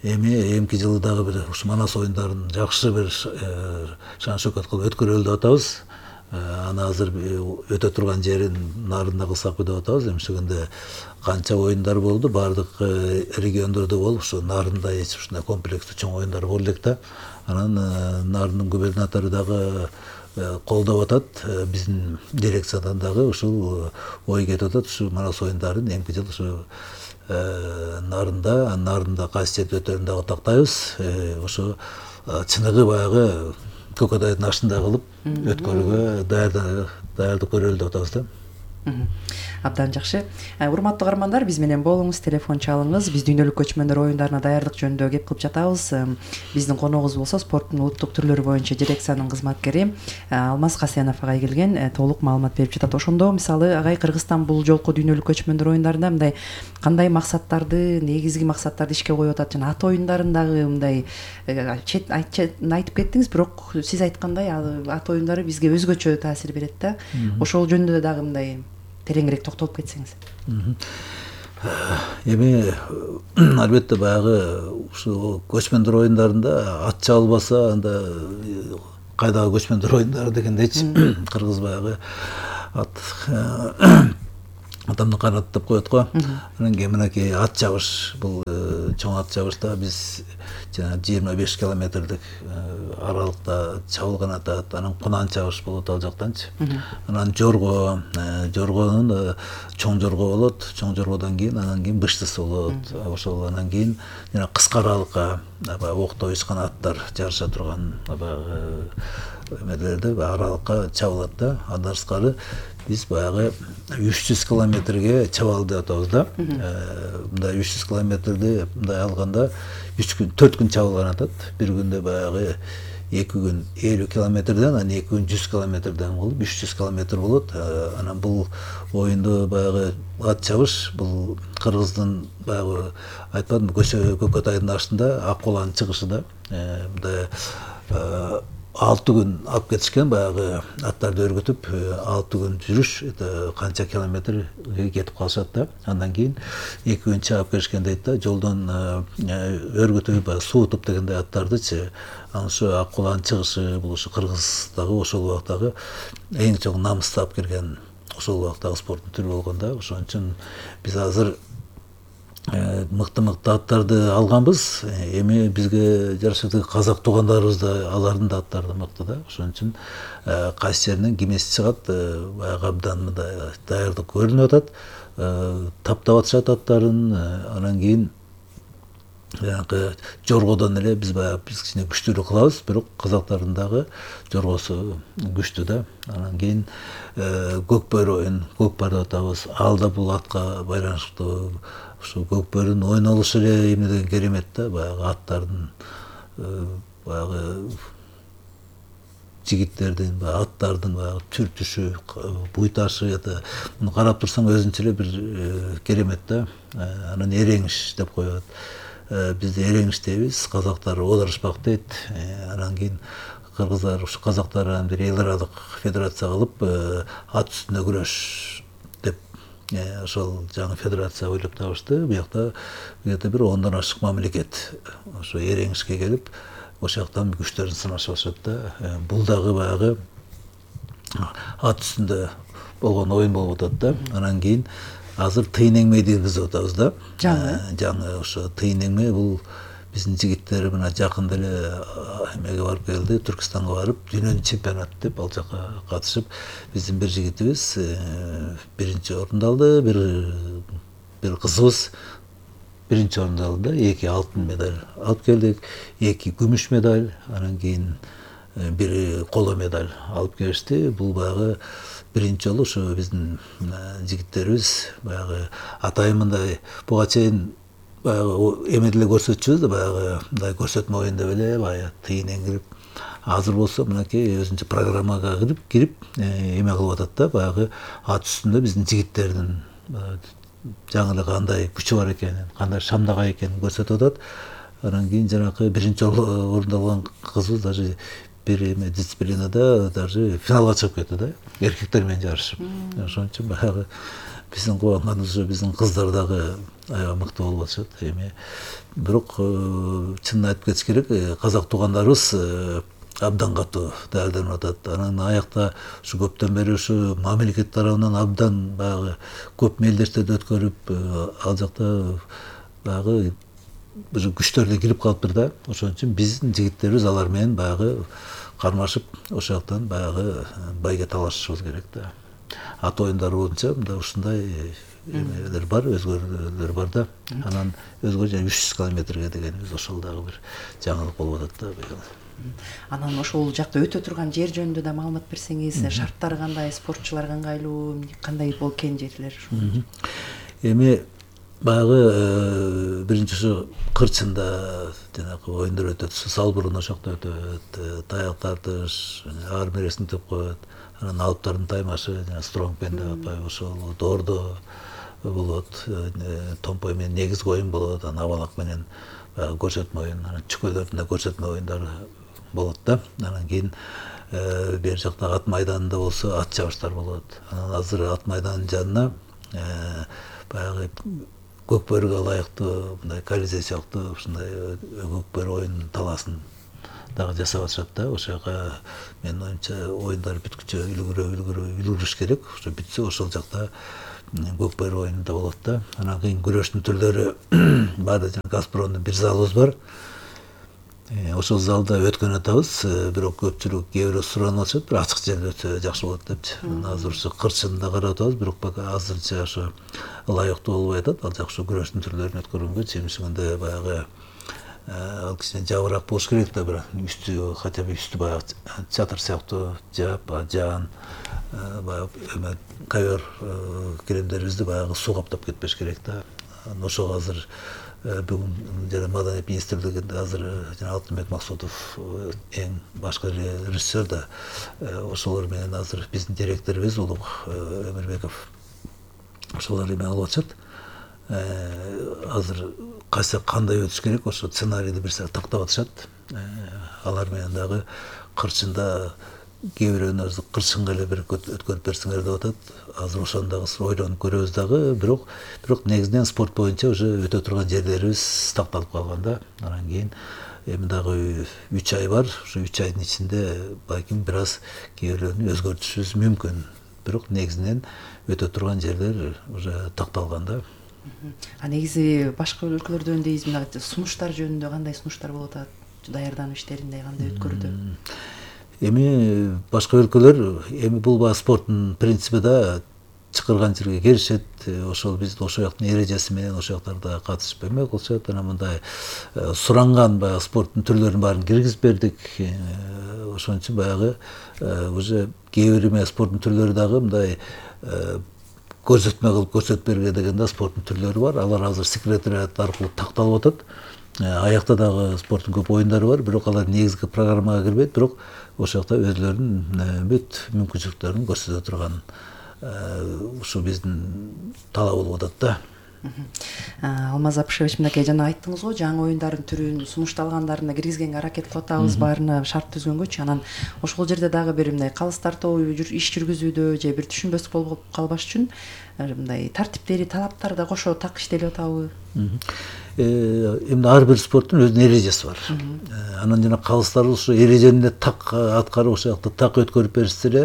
Speaker 11: эми эмки жылы дагы бир ушу Манас оюндарын жакшы бир шан шөкөт кылып өткөрөлү деп атабыз. Аны азыр өтө турган жерин нарында кылсакпы деп атабыз. Эмишегенде канча оюндар болду, баардык региондордо болуп, ушу нарында эч ушундай комплекстүү чоң оюндар боло элек да. Анан нардын губернатору дагы колдоп атат, биздин дирекциядан дагы ушул ой кетип атат. Ушу Манас оюндарын эмки жыл ушу нарында, нарында кайсы жерде өтөрүн дагы тактайбыз. Ошо чыныгы баягы Көкөтайдын ашында кылып, өткөрүүгө даярдык көрөлү деп атабыз да.
Speaker 10: Абдан жакшы. Урматтуу каармандар, биз менен болуңуз, телефон чалыңыз. Биз дүйнөлүк көчмөндөр оюндарына даярдык жөнүндө кеп кылып жатабыз. Биздин коногубуз болсо спорттун улуттук түрлөрү боюнча дирекциянын кызматкери Алмаз Касенов агай келген, толук маалымат берип жатат. Ошондо мисалы агай Кыргызстан бул жолку дүйнөлүк көчмөндөр оюндарында мындай кандай максаттарды, негизги максаттарды ишке коюп атат жана ат оюндарындагы мындай чет айтып кеттиңиз, бирок сиз айткандай ат оюндары бизге өзгөчө таасир берет да. Ошол жөнүндө дагы мындай тереңирээк токтолуп кетсеңиз.
Speaker 11: Эми албетте баягы ушу көчмөндөр оюндарында ат чабылбаса, анда кайдагы көчмөндөр оюндары дегендейчи кыргыз баягы ат адамды канаттап коет го. Анан кийин мынакей ат чабыш, бул чоң ат чабышта биз жана жыйырма беш километрдик аралыкта чабылган атат. Анан кунан чабыш болот ал жактанчы. Анан жорго, жоргонун чоң жорго болот. Чоң жоргодон кийин анан кийин быштысы болот. Ошол анан кийин жана кыска аралыкка баягы окто учкан аттар жарыша турган баягы эмелерде аралыкка чабылат да. Андан сырткары биз баягы үч жүз километрге чабалы деп атабыз да. Мындай үч жүз километрди мындай алганда үч күн, төрт күн чабылган атат. Бир күндө баягы эки күн элүү километрден, анан эки күн жүз километрден болуп үч жүз километр болот. Анан бул оюнду баягы ат чабыш бул Кыргыздын баягы айтпадымбы, көчө көкөт айдын артында ак куланын чыгышы да. Мындай алты күн алып кетишкен, баягы аттарды өргөтүп алты күн жүрүш, канча километр кетип калышат да. Андан кийин эки күн чабып келишкен дейт да. Жолдон өргөтүп баягы суутуп дегендей аттардычы. Анан ошо ак куланын чыгышы бул ушу Кыргыздагы ошол убактагы эң чоң намысты алып келген ошол убактагы спорттун түрү болгон да. Ошон үчүн биз азыр мыкты-мыкты аттарды алганбыз. Эми бизге жарашат казак туугандарыбыз да алардын да аттары мыкты да. Ошон үчүн кайсы жеринен кимеси чыгат, баягы абдан мындай даярдык көрүнүп атат. Таптап атышат аттарын. Анан кийин жанагы жоргодон эле биз баягы биз кичине күчтүүрөөк кылабыз, бирок казактардын дагы жоргосу күчтүү да. Анан кийин көкбөрү оюн, көкпар деп атабыз. Ал да бул атка байланыштуу. Ушу көкбөрүнүн ойнолушу эле эмне деген керемет да. Баягы аттардын баягы жигиттердин, аттардын баягы түр-түшү, буйташы, муну карап турсаң өзүнчө эле бир керемет да. Анан эреңиш деп коет. Бизде эреңиш дейбиз, казактар оодарышпак дейт. Анан кийин кыргыздар, ушу казактар бир эл аралык федерация кылып, ат үстүндө күрөш деп ошол жаңы федерация ойлоп табышты. Буякта где-то бир ондон ашык мамлекет ошо эреңишке келип, ошол жактан күчтөрүн сынашып атышат да. Бул дагы баягы ат үстүндө болгон оюн болуп атат да. Анан кийин азыр тыйын эңмейди киргизип атабыз да.
Speaker 10: Жаңы.
Speaker 11: Жаңы ошо тыйын эңме бул биздин жигиттер мына жакында эле эмеге барып келди, Түркистанга барып, дүйнөнүн чемпионаты деп ал жака катышып, биздин бир жигитибиз биринчи орунду алды, бир бир кызыбыз биринчи орунду алды да, эки алтын медаль алып келдик, эки күмүш медаль, анан кийин бир коло медаль алып келишти. Бул баягы биринчи жолу ошо биздин жигиттерибиз баягы атайын мындай буга чейин баягы эмеделе көрсөтчүбүз да, баягы мындай көрсөтмө оюн деп эле баягы тыйын эңирип. Азыр болсо мынакей өзүнчө программага кирип кирип эме кылып атат да, баягы ат үстүндө биздин жигиттердин жаңы эле кандай күчү бар экенин, кандай шамдагай экенин көрсөтүп атат. Анан кийин жанакы биринчи орунду алган кызыбыз даже бир эме дисциплинада даже финалга чыгып кетти да, эркектер менен жарышып. Ошон үчүн баягы биздин кубанганыбыз биздин кыздар дагы аябай мыкты болуп атышат. Эми бирок чынын айтып кетиш керек, казак туугандарыбыз абдан катуу даярданып атат. Анан аякта ушу көптөн бери ушу мамлекет тарабынан абдан баягы көп мелдештерди өткөрүп, ал жакта баягы бир күчтөр да кирип калыптыр да. Ошон үчүн биздин жигиттерибиз алар менен баягы кармашып, ошол жактан баягы байге талашышыбыз керек да. Ат оюндары боюнча мында ушундай эмелер бар, өзгөрүүлөр бар да. Анан өзгө үч жүз километрге дегенибиз ошол дагы бир жаңылык болуп атат да.
Speaker 4: Анан ошол жакта өтө турган жер жөнүндө да маалымат берсеңиз, шарттары кандай, спортчуларга ыңгайлуу, кандай болуп экен жерлер?
Speaker 11: Эми баягы биринчи ушу кырчында жанагы оюндар өтөт, салбурун ошол жакта өтөт, таяк тартыш, арм рестлинг деп коет, анан алыптардын таймашы, жана стронгмен деп атпайбы, ошол доордо болот, томпой менен негизги оюн болот, анан абалак менен баягы көрсөтмө оюн, анан чүкөлөрдүн да көрсөтмө оюндары болот да. Анан кийин бер жакта ат майданында болсо ат чабыштар болот. Анан азыр ат майданынын жанына баягы көкбөрүгө ылайыктуу мындай колизей сыяктуу ушундай көкбөрү оюн талаасын дагы жасап атышат да. Ошол жака менин оюмча оюндар бүткүчө үлгүрө үлгүрө үлгүрүш керек. Ошо бүтсө ошол жакта көкбөрү оюну да болот да. Анан кийин күрөштүн түрлөрү бар, жана Газпромдун бир залыбыз бар. Ошол залда өткөн атабыз, бирок көпчүлүк кээ бирөө суранып атышат, бир ачык жерде өтсө жакшы болот депчи. Азыр ушу кырчында карап атабыз, бирок пока азырынча ошо ылайыктуу болбой атат. Ал жакшы күрөштүн түрлөрүн өткөргөнгө чемишигинде баягы ал кичине жабыраак болуш керек да, бир үстү хотя бы үстү баягы чатыр сыяктуу жаап, жаан, баягы эме ковер киремдерибизди баягы суу каптап кетпеш керек да. Ошого азыр бүгүн жана Маданият министрлигинде азыр жана Алтынбек Максутов эң башкы режиссер да, ошолор менен азыр биздин директорубуз Улук Эмирбеков ошолор эме алып атышат. Азыр кайсы кандай өтүш керек, ошо сценарийди бир саат тактап атышат. Алар менен дагы кырчында кээ бирөөнү кырчынга эле бир өткөрүп берсеңер деп атат. Азыр ошону дагы ойлонуп көрөбүз дагы, бирок бирок негизинен спорт боюнча уже өтө турган жерлерибиз такталып калган да. Анан кийин эми дагы үч ай бар. Ошо үч айдын ичинде балким бир аз кээ бирөөнү өзгөртүшүбүз мүмкүн. Бирок негизинен өтө турган жерлер уже такталган да.
Speaker 4: А негизи башка өлкөлөрдө дейбиз, мына сунуштар жөнүндө кандай сунуштар болуп атат? Даярдануу иштеринде кандай өткөрүүдө?
Speaker 11: Эми башка өлкөлөр эми бул баягы спорттун принципи да чакырган жерге келишет. Ошол биз ошол жактын эрежеси менен ошол жактарда катышып эме кылышат. Анан мындай суранган баягы спорттун түрлөрүнүн баарын киргизип бердик. Ошон үчүн баягы уже кээ бир эме спорттун түрлөрү дагы мындай көрсөтмө кылып көрсөтүп берге деген да спорттун түрлөрү бар. Алар азыр секретариат аркылуу такталып атат. Аякта дагы спорттун көп оюндары бар, бирок алар негизги программага кирбейт, бирок ошол жакта өзлөрүнүн бүт мүмкүнчүлүктөрүн көрсөтө турган ушу биздин талап болуп атат да.
Speaker 4: Алмаз Апышевич, мынакей жана айттыңыз го, жаңы оюндардын түрүн сунушталгандарына киргизгенге аракет кылып атабыз, баарына шарт түзгөнгөчү. Анан ошол жерде дагы бир мындай калыс тартуу иш жүргүзүүдө же бир түшүнбөстүк болуп калбаш үчүн мындай тартиптери, талаптары да кошо так иштелип атабы?
Speaker 11: Эми ар бир спорттун өзүнүн эрежеси бар. Анан жана калыстар ошо эрежени так аткарып, ошол жакта так өткөрүп беришсе эле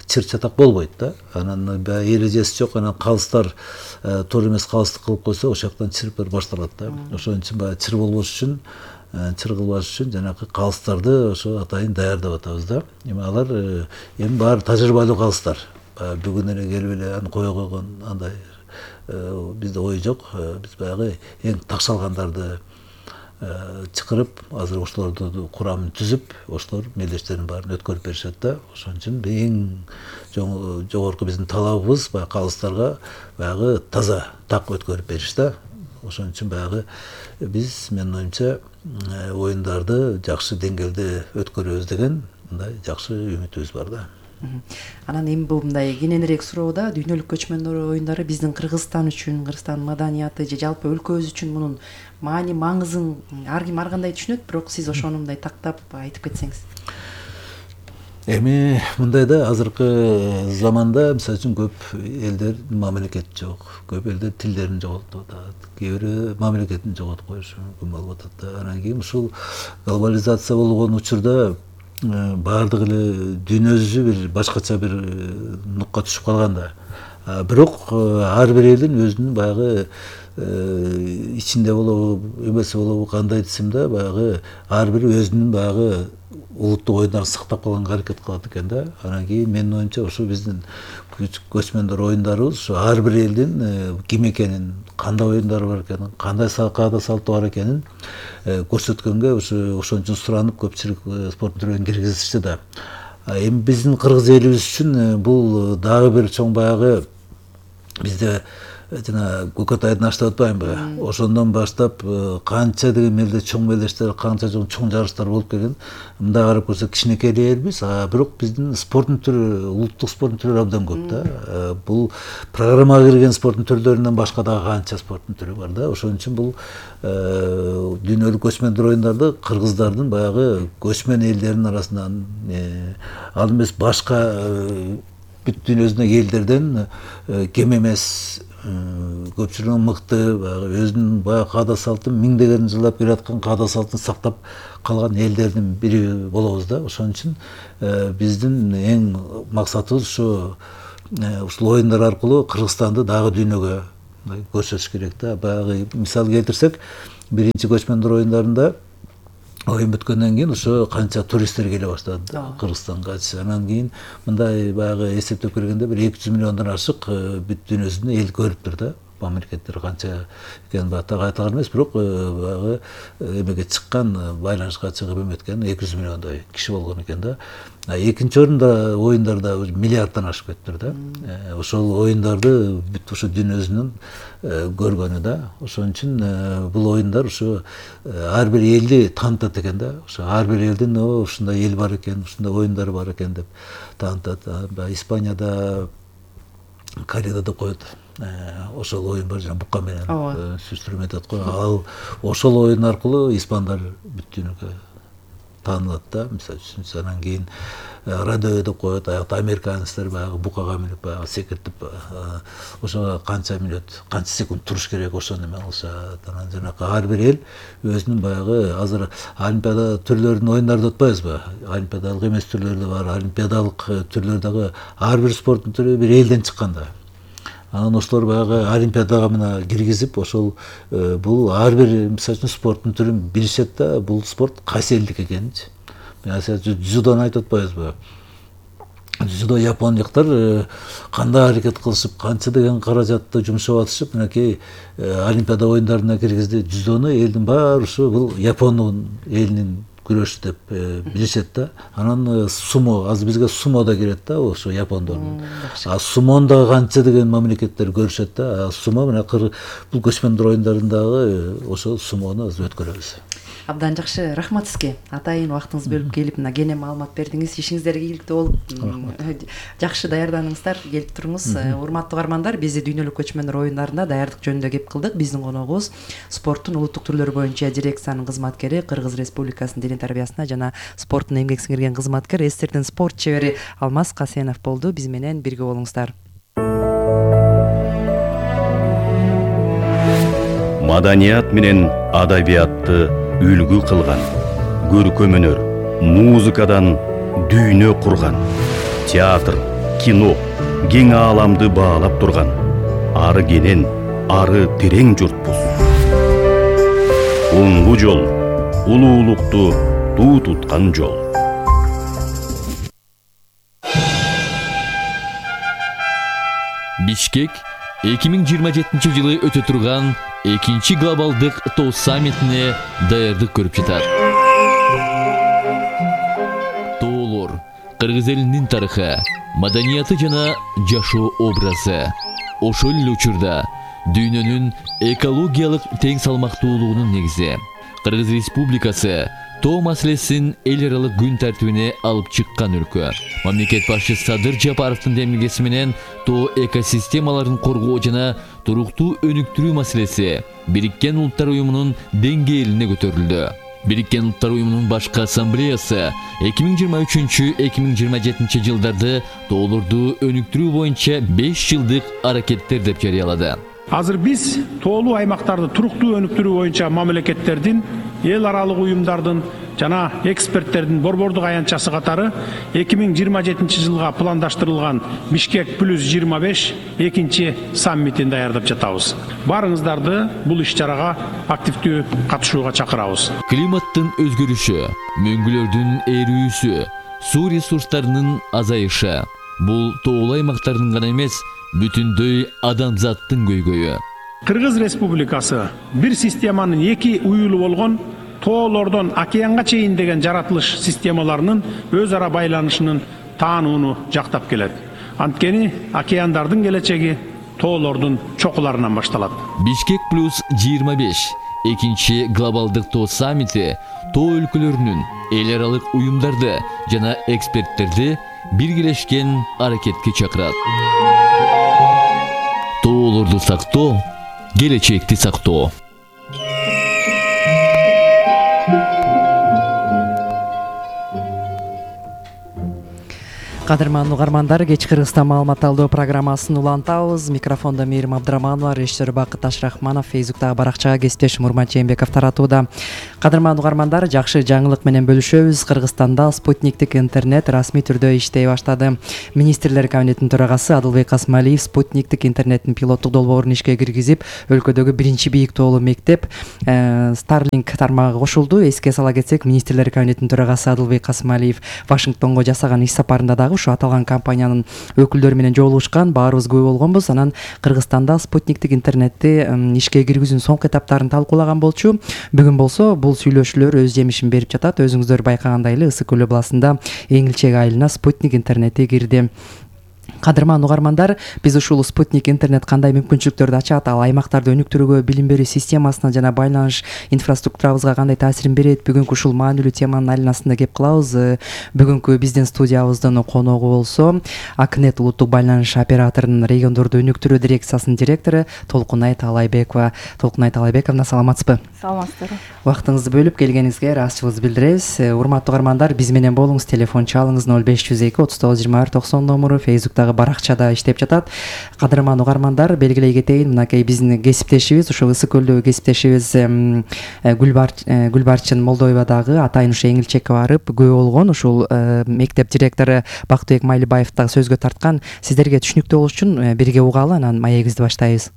Speaker 11: чыр чатак болбойт да. Анан баягы эрежеси жок, анан калыстар туура эмес калыстык кылып койсо, ошол жактан чыр башталат да. Ошон үчүн баягы чыр болбош үчүн, чыр кылбаш үчүн жанагы калыстарды ошо атайын даярдап атабыз да. Эми алар эми баары тажрыйбалуу калыстар. Бүгүн эле келип эле аны кое койгон андай бизде ой жок. Биз баягы эң такшалгандарды чакырып, азыр ошолорду курамын түзүп, ошолор мелдештерин баарын өткөрүп беришет да. Ошон үчүн эң жогорку биздин талабыбыз баягы калыстарга баягы таза так өткөрүп бериш да. Ошон үчүн баягы биз, менин оюмча, оюндарды жакшы деңгээлде өткөрөбүз деген мындай жакшы үмүтүбүз бар да.
Speaker 4: Анан эми бул мындай кененирээк суроо да, дүйнөлүк көчмөндөр оюндары биздин Кыргызстан үчүн, Кыргызстан маданияты же жалпы өлкөбүз үчүн мунун маани маңызын ар ким ар кандай түшүнөт, бирок сиз ошону мындай тактап айтып кетсеңиз.
Speaker 11: Эми мындай да, азыркы заманда мисалы үчүн көп элдер мамлекет жок, көп элдер тилдерин жоготуп атат, кээ бирөө мамлекетин жоготуп коюшу мүмкүн болуп атат да. Анан кийин ушул глобализация болгон учурда баардык эле дүйнөсү бир башкача бир нукка түшүп калган да. Бирок ар бир элдин өзүнүн баягы ичинде болобу эмеси болобу кандай десем да баягы ар бири өзүнүн баягы улуттук оюндарын сактап калганга аракет кылат экен да. Анан кийин менин оюмча ошо биздин көчмөндөр оюндарыбыз ушу ар бир элдин ким экенин, кандай оюндары бар экенин, кандай каада салты бар экенин көрсөткөнгө ушу ошон үчүн суранып көпчүлүк спорт түрлөрүн киргизишти да. Эми биздин кыргыз элибиз үчүн бул дагы бир чоң баягы бизде жана Көкөтайдын аштап атпаймынбы? Ошондон баштап канча деген мелде чоң мелдештер, канча чоң жарыштар болуп келген. Мындай карап көрсөк кичинекей элбиз, а бирок биздин спорттун түрү, улуттук спорттун түрү абдан көп да. Бул программага кирген спорттун түрлөрүнөн башка дагы канча спорттун түрү бар да. Ошон үчүн бул дүйнөлүк көчмөндөр оюндарды кыргыздардын баягы көчмөн элдердин арасынан ал эмес башка бүт дүйнөдөгү элдерден кем эмес, көпчүлүгү мыкты, өзүнүн баягы каада салтын миңдеген жылдап келаткан каада салтын сактап калган элдердин бири болобуз да. Ошон үчүн биздин эң максатыбыз ушу ушул оюндар аркылуу Кыргызстанды дагы дүйнөгө көрсөтүш керек да. Баягы мисал келтирсек, биринчи көчмөндөр оюндарында оюн бүткөндөн кийин ошо канча туристтер келе баштады Кыргызстанга. Анан кийин мындай баягы эсептеп келгенде бир эки жүз миллиондон ашык бүт дүйнөсүндө эл көрүптүр да. Мамлекеттер канча экенин так айтылган эмес, бирок баягы эмеге чыккан, байланышка чыгып эметкен эки жүз миллиондой киши болгон экен да. Экинчи орунда оюндарда миллиарддан ашып кетиптир да. Ошол оюндарды бүт ошо дүйнөсүнүн көргөнү да. Ошон үчүн бул оюндар ошо ар бир элди таанытат экен да. Ошо ар бир элдин ушундай эл бар экен, ушундай оюндар бар экен деп таанытат. Испанияда, Кореяда деп коет. Ошол оюн бар, жана бука менен сүрүштүрмө айтат го. Ал ошол оюн аркылуу испандар бүт дүйнөгө таанылат да. Мисалы үчүн анан кийин радио деп коет, аякта американецтер баягы букага минип баягы секиртип ошого канча мүнөт, канча секунд туруш керек, ошону эме кылышат. Анан жанакы ар бир эл өзүнүн баягы азыр олимпиада түрлөрүнүн оюндары деп атпайбызбы? Олимпиадалык эмес түрлөр да бар, олимпиадалык түрлөр дагы ар бир спорттун түрү бир элден чыккан да. Анан ошолор баягы олимпиадага мына киргизип, ошол бул ар бир мисалы үчүн спорттун түрүн билишет да, бул спорт кайсы элдики экенинчи. Мисалы дзюдону айтып атпайбызбы? Дзюдо япондуктар кандай аракет кылышып, канча деген каражатты жумшап атышып, мынакей олимпиада оюндарына киргизди. Дзюдону элдин баары ушу бул Япондун элинин күрөшү деп билишет да. Анан сумо, азыр бизге сумо да кирет да, ошо япондордун. А сумонда канча деген мамлекеттер көрүшөт да. Сумо мына бул көчмөндөр оюндарындагы ошо сумону азыр өткөрөбүз.
Speaker 10: Абдан жакшы, рахмат сизге. Атайын убактыңызды бөлүп келип мына кене маалымат бердиңиз. Ишиңиздерге ийгиликтүү болуп, жакшы даярданыңыздар, келип туруңуз. Урматтуу угармандар, биз дүйнөлүк көчмөндөр оюндарында даярдык жөнүндө кеп кылдык. Биздин коногубуз спорттун улуттук түрлөрү боюнча дирекциянын кызматкери, Кыргыз Республикасынын дене тарбиясына жана спорттун эмгек сиңирген кызматкер, эстердин спорт чебери Алмаз Касенов болду. Биз менен бирге болуңуздар.
Speaker 12: Маданият менен адабиятты үлгү кылган, көркөм өнөр, музыкадан дүйнө курган, театр, кино, кең ааламды баалап турган, ары кенен, ары терең журтпуз. Оңгу жол, улуулукту туу туткан жол.
Speaker 9: Бишкек эки миң жыйырма жетинчи жылы өтө турган экинчи глобалдык тоо саммитине даярдык көрүп жатат. Тоолор кыргыз элинин тарыхы, маданияты жана жашоо образы. Ошол эле учурда дүйнөнүн экологиялык тең салмактуулугунун негизи. Кыргыз Республикасы тоо маселесин эл аралык күн тартибине алып чыккан өлкө. Мамлекет башчысы Садыр Жапаровдун демилгеси менен тоо экосистемаларын коргоо жана туруктуу өнүктүрүү маселеси Бириккен Улуттар Уюмунун деңгээлине көтөрүлдү. Бириккен Улуттар Уюмунун башкы ассамблеясы эки миң жыйырма үчүнчү эки миң жыйырма жетинчи жылдарды тоолорду өнүктүрүү боюнча беш жылдык аракеттер деп жарыялады.
Speaker 13: Азыр биз тоолуу аймактарды туруктуу өнүктүрүү боюнча мамлекеттердин, эл аралык уюмдардын жана эксперттердин борбордук аянтчасы катары эки миң жыйырма жетинчи жылга пландаштырылган Бишкек плюс жыйырма беш экинчи саммитин даярдап жатабыз. Барыңыздарды бул иш-чарага активдүү катышууга чакырабыз.
Speaker 9: Климаттын өзгөрүшү, мөңгүлөрдүн эрүүсү, суу ресурстарынын азайышы бул тоолуу аймактардын гана эмес, бүтүндөй адамзаттын көйгөйү.
Speaker 13: Кыргыз Республикасы бир системанын эки уюлу болгон тоолордон океанга чейин деген жаратылыш системаларынын өз ара байланышынын таанууну жактап келет. Анткени океандардын келечеги тоолордун чокуларынан башталат.
Speaker 9: Бишкек плюс жыйырма беш экинчи глобалдык тоо саммити тоо өлкөлөрүнүн эл аралык уюмдарды жана эксперттерди биргелешкен аракетке чакырат. Тоолорду сактоо, келечекти сактоо.
Speaker 10: Кадырман угармандар, кечки Кыргызстан маалымат алуу программасын улантабыз. Микрофондо Мээрим Абдраманова, режиссер Бакыт Ашрахманов, Фейсбуктагы баракчага кесиптешим Урмат Жээнбеков таратууда. Кадырман угармандар, жакшы жаңылык менен бөлүшөбүз. Кыргызстанда спутниктик интернет расмий түрдө иштей баштады. Министрлер кабинетинин төрагасы Адылбек Касмалиев спутниктик интернеттин пилоттук долбоорун ишке киргизип, өлкөдөгү биринчи бийик тоолуу мектеп Starlink тармагы кошулду. Эске сала кетсек, Министрлер кабинетинин төрагасы Адылбек Касмалиев Вашингтонго жасаган иш сапарында дагы ушу аталган компаниянын өкүлдөрү менен жолугушкан. Баарыбыз күбө болгонбуз. Анан Кыргызстанда спутниктик интернетти ишке киргизүүнүн соңку этаптарын талкуулаган болчу. Бүгүн болсо бул сүйлөшүүлөр өз жемишин берип жатат. Өзүңүздөр байкагандай эле Ысык көл областында Эңилчек айылына спутник интернети кирди. Кадырман угармандар, биз ушул спутник интернет кандай мүмкүнчүлүктөрдү ачат, ал аймактарды өнүктүрүүгө, билим берүү системасына жана байланыш инфраструктурабызга кандай таасирин берет? Бүгүнкү ушул маанилүү теманын айланасында кеп кылабыз. Бүгүнкү биздин студиябыздын коногу болсо Акнет улуттук байланыш операторунун региондорду өнүктүрүү дирекциясынын директору Толкунай Таалайбекова. Толкунай Таалайбековна, саламатсызбы?
Speaker 14: Саламатсыздарбы.
Speaker 10: Убактыңызды бөлүп келгениңизге ыраазычылыгыбызды билдиребиз. Урматтуу угармандар, биз менен болуңуз. Телефон чалыңыз ноль беш жүз эки отуз тогуз жыйырма бир токсон номуру. Фейсбуктагы баракчада иштеп жатат. Кадырман угармандар, белгилей кетейин, мынакей биздин кесиптешибиз, ушул Ысык көлдөгү кесиптешибиз Гүлбарчын Молдоевадагы атайын ушу Эңилчекке барып күбө болгон. Ушул мектеп директору Бактыбек Майлыбаев дагы сөзгө тарткан. Сиздерге түшүнүктүү болуш үчүн бирге угалы, анан маегибизди баштайбыз.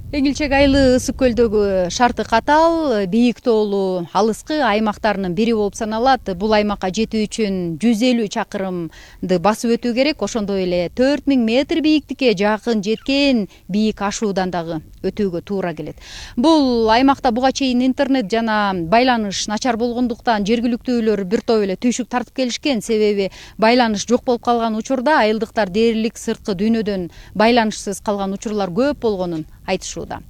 Speaker 14: Эңилчек айылы Ысык көлдөгү шарты катал, бийик тоолуу алыскы аймактарынын бири болуп саналат. Бул аймакка жетүү үчүн жүз элүү чакырымды басып өтүү керек. Ошондой эле төрт миң метр бийиктикке жакын жеткен бийик ашуудан дагы өтүүгө туура келет. Бул аймакта буга чейин интернет жана байланыш начар болгондуктан жергиликтүүлөр бир топ эле түйшүк тартып келишкен. Себеби байланыш жок болуп калган учурда айылдыктар дээрлик сырткы дүйнөдөн байланышсыз калган учурлар көп болгонун айтышууда.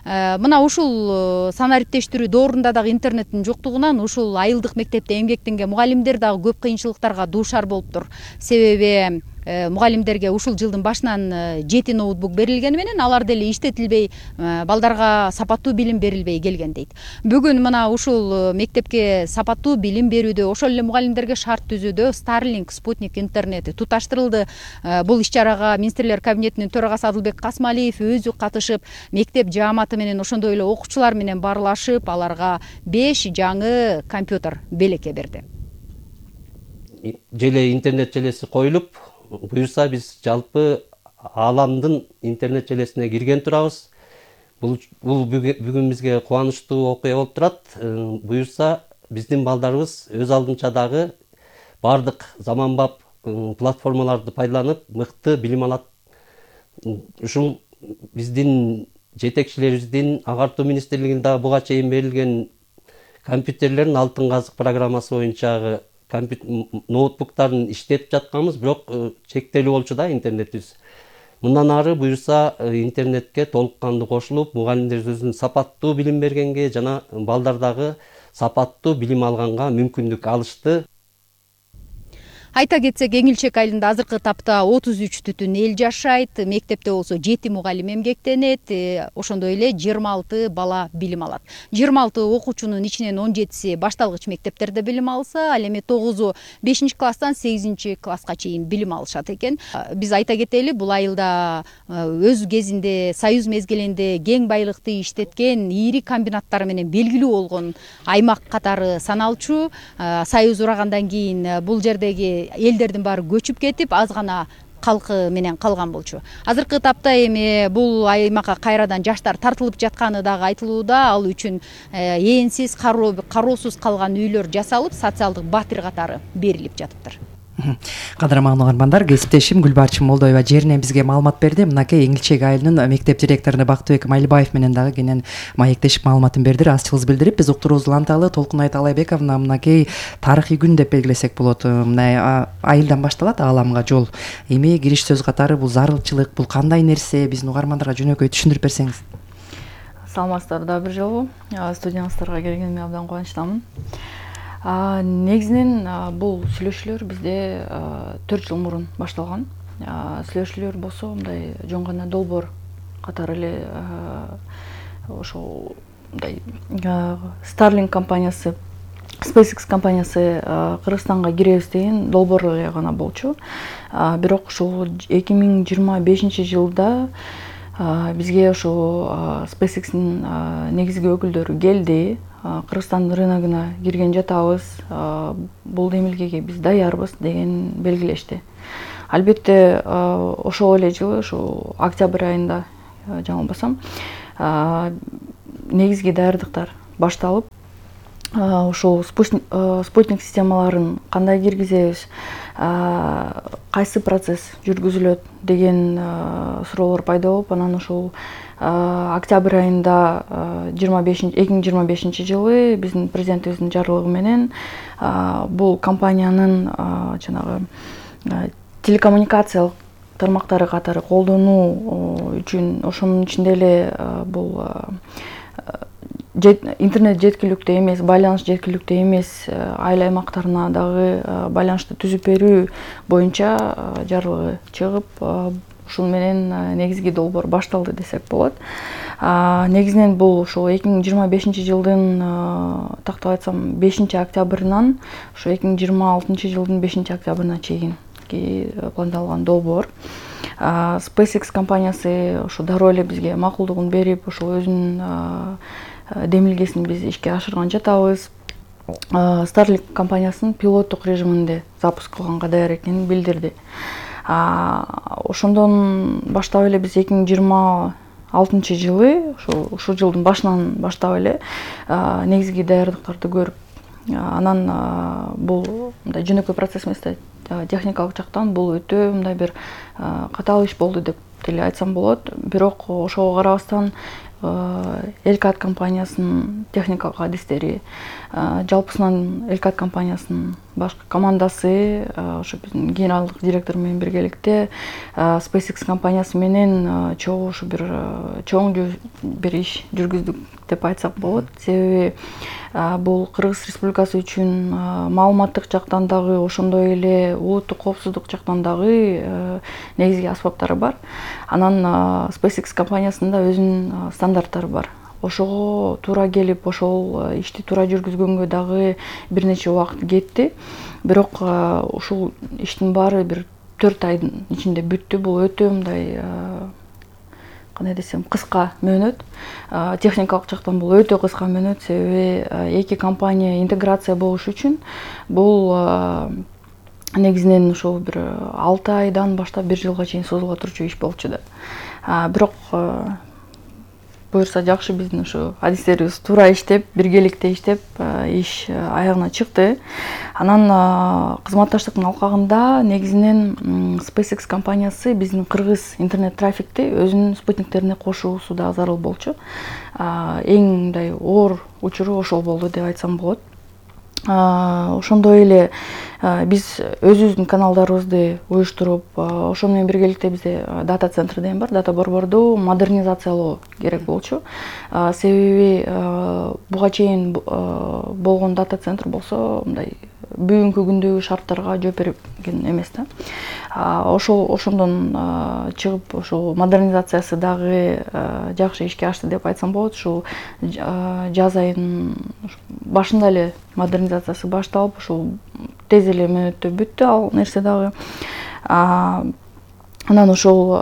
Speaker 14: Мына ушул санариптештирүү доорунда дагы интернеттин жоктугунан ушул айылдык мектепте эмгектенген мугалимдер дагы көп кыйынчылыктарга дуушар болуптур. Себеби мугалимдерге ушул жылдын башынан жети ноутбук берилгени менен алар деле иштетилбей, балдарга сапаттуу билим берилбей келген дейт. Бүгүн мына ушул мектепке сапаттуу билим берүүдө, ошол эле мугалимдерге шарт түзүүдө Starlink спутник интернети туташтырылды. Бул иш-чарага Министрлер кабинетинин төрагасы Адылбек Касмалиев өзү катышып, мектеп жааматы менен ошондой эле окуучулар менен баарлашып, аларга беш жаңы компьютер белекке берди.
Speaker 15: Желе интернет желеси коюлуп, буюрса биз жалпы ааламдын интернет желесине кирген турабыз. Бул бул бүгүн бизге кубанычтуу окуя болуп турат. Буюрса биздин балдарыбыз өз алдынча дагы бардык заманбап платформаларды пайдаланып мыкты билим алат. Ушул биздин жетекчилерибиздин агартуу министрлигинин дагы буга чейин берилген компьютерлердин алтын казык программасы боюнча ноутбуктарын иштетип жатканбыз, бирок чектелүү болчу да интернетибиз. Мындан ары буюрса интернетке толук кандуу кошулуп, мугалимдер өзүнүн сапаттуу билим бергенге жана балдар дагы сапаттуу билим алганга мүмкүндүк алышты.
Speaker 14: Айта кетсек, Эңилчек айылында азыркы тапта отуз үч түтүн эл жашайт, мектепте болсо жети мугалим эмгектенет, ошондой эле жыйырма алты бала билим алат. жыйырма алты окуучунун ичинен он жетиси башталгыч мектептерде билим алса, ал эми тогузу бешинчи класстан сегизинчи класска чейин билим алышат экен. Биз айта кетели, бул айылда өз кезинде Союз мезгилинде кең байлыкты иштеткен ири комбинаттар менен белгилүү болгон аймак катары саналчу. Союз урагандан кийин бул жердеги элдердин баары көчүп кетип, аз гана калкы менен калган болчу. Азыркы тапта эми бул аймакка кайрадан жаштар тартылып жатканы дагы айтылууда. Ал үчүн ээнсиз, кароосуз калган үйлөр жасалып, социалдык батир катары берилип жатыптыр.
Speaker 10: Кадырман угармандар, кесиптешим Гүлбарчын Молдоева жеринен бизге маалымат берди. Мынакей Эңилчек айылынын мектеп директору Бактыбек Майлыбаев менен дагы кенен маектешип маалыматын берди. Аччылык билдирип, биз уктуруубузду уланталы. Толкунай Талайбековна, мынакей тарыхый күн деп белгилесек болот. Мына айылдан башталат ааламга жол. Эми кириш сөз катары бул зарылчылык, бул кандай нерсе, биздин угармандарга жөнөкөй түшүндүрүп берсеңиз.
Speaker 16: Саламатсыздар да бир жолу. Студияңыздарга келгениме абдан кубанычтамын. Негизинен бул сүйлөшүүлөр бизде төрт жыл мурун башталган. Сүйлөшүүлөр болсо мындай жөн гана долбоор катары эле ошол мындай Starlink компаниясы, SpaceX компаниясы Кыргызстанга киребиз деген долбоор эле гана болчу. Бирок ушул эки миң жыйырма бешинчи жылда бизге ошол SpaceX'ин негизги өкүлдөрү келди. Кыргызстан рыногуна кирген жатабыз, бул демилгеге биз даярбыз деген белгилешти. Албетте ошол эле жылы, ошол октябрь айында жаңылбасам, негизги даярдыктар башталып, ошол спутник системаларын кандай киргизебиз, кайсы процесс жүргүзүлөт деген суроолор пайда болуп, анан ошол октябрь айында эки миң жыйырма бешинчи жылы биздин президентибиздин жарлыгы менен бул компаниянын жанагы телекоммуникациялык тармактары катары колдонуу үчүн, ошонун ичинде эле бул интернет жеткиликтүү эмес, байланыш жеткиликтүү эмес айыл аймактарына дагы байланышты түзүп берүү боюнча жарлыгы чыгып, ушун менен негизги долбоор башталды десек болот. Негизинен бул ошол эки миң жыйырма бешинчи жылдын, тактап айтсам, бешинчи октябрынан ошо эки миң жыйырма алтынчы жылдын бешинчи октябрына чейин пландалган долбоор. SpaceX компаниясы ошо дароо эле бизге макулдугун берип, ошол өзүнүн демилгесин биз ишке ашырган жатабыз. Starlink компаниясынын пилоттук режиминде запуск кылганга даяр экенин билдирди. Ошондон баштап эле биз эки миң жыйырма алтынчы жылы, ушул жылдын башынан баштап эле негизги даярдыктарды көрүп, анан бул мындай жөнөкөй процесс эмес да, техникалык жактан бул өтө мындай бир катаал иш болду деп деле айтсам болот. Бирок ошого карабастан Элкат компаниясынын техникалык адистери, жалпысынан Элкат компаниясынын башкы командасы, ошо биздин генералдык директор менен биргеликте SpaceX компаниясы менен чогуу ушу бир чоң бир иш жүргүздүк деп айтсак болот. Себеби бул Кыргыз Республикасы үчүн маалыматтык жактан дагы, ошондой эле улуттук коопсуздук жактан дагы негизги аспаптары бар. Анан SpaceX компаниясында өзүнүн стандарттары бар. Ошого туура келип, ошол ишти туура жүргүзгөнгө дагы бир нече убакыт кетти. Бирок ушул иштин баары бир төрт айдын ичинде бүттү. Бул өтө мындай, кандай десем, кыска мөөнөт. Техникалык жактан бул өтө кыска мөөнөт, себеби эки компания интеграция болуш үчүн бул негизинен ошол бир алты айдан баштап бир жылга чейин созула турчу иш болчу да. Бирок буюрса жакшы, биздин ушу адистерибиз туура иштеп, биргеликте иштеп, иш аягына чыкты. Анан кызматташтыктын алкагында негизинен SpaceX компаниясы биздин кыргыз интернет трафикти өзүнүн спутниктерине кошуусу да зарыл болчу. Эң мындай оор учуру ошол болду деп айтсам болот. Ошондой эле биз өзүбүздүн каналдарыбызды уюштуруп, ошону менен биргеликте бизде дата центр деген бар, дата борборду модернизациялоо керек болчу. Себеби буга чейин болгон дата центр болсо мындай бүгүнкү күндөгү шарттарга жооп берген эмес да. Ошол ошондон чыгып ошол модернизациясы дагы жакшы ишке ашты деп айтсам болот. Ушул жаз айынын башында эле модернизациясы башталып, ушул тез эле мөөнөттө бүттү ал нерсе дагы. Анан ошол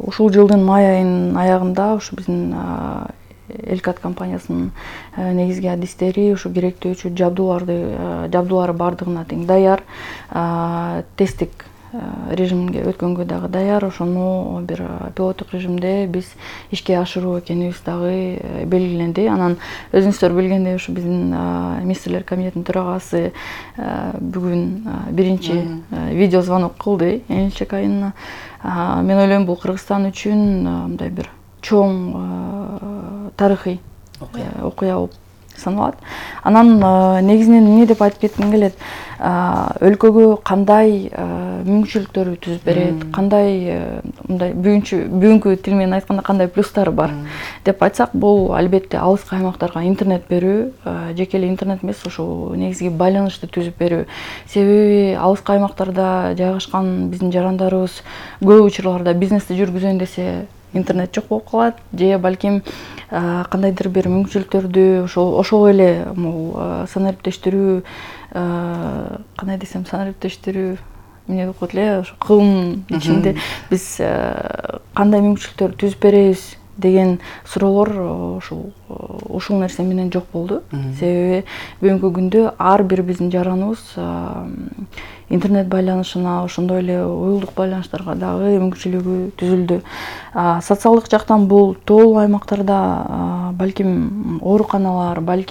Speaker 16: ушул жылдын май айынын аягында ушу биздин Элкат компаниясынын негизги адистери ушу керектөөчү жабдууларды жабдуулары бардыгына тең даяр, тесттик режимге өткөнгө дагы даяр. Ошону бир пилоттук режимде биз ишке ашыруу экенибиз дагы белгиленди. Анан өзүңүздөр билгендей ушу биздин министрлер комитетинин төрагасы бүгүн биринчи видео звонок кылды Элчек айына. Мен ойлойм бул Кыргызстан үчүн мындай бир чоң тарыхый окуя болуп саналат. Анан негизинен эмне деп айтып кетким келет, өлкөгө кандай мүмкүнчүлүктөр түзүп берет, кандай мындай бүгүнкү тил менен айтканда кандай плюстары бар деп айтсак, бул албетте алыскы аймактарга интернет берүү, жеке эле интернет эмес, ошол негизги байланышты түзүп берүү. Себеби алыскы аймактарда жайгашкан биздин жарандарыбыз көп учурларда бизнести жүргүзөйүн десе интернет жок болуп калат, же балким кандайдыр бир мүмкүнчүлүктөрдү ошол ошол эле санариптештирүү, кандай десем, санариптештирүү эмне деп коет эле, ошо кылым ичинде биз кандай мүмкүнчүлүктөр түзүп беребиз деген суроолор ушул ушул нерсе менен жок болду. Себеби бүгүнкү күндө ар бир биздин жараныбыз интернет байланышына, ошондой эле уюлдук байланыштарга дагы мүмкүнчүлүгү түзүлдү. Социалдык жактан бул тоолуу аймактарда балким ооруканалар, балким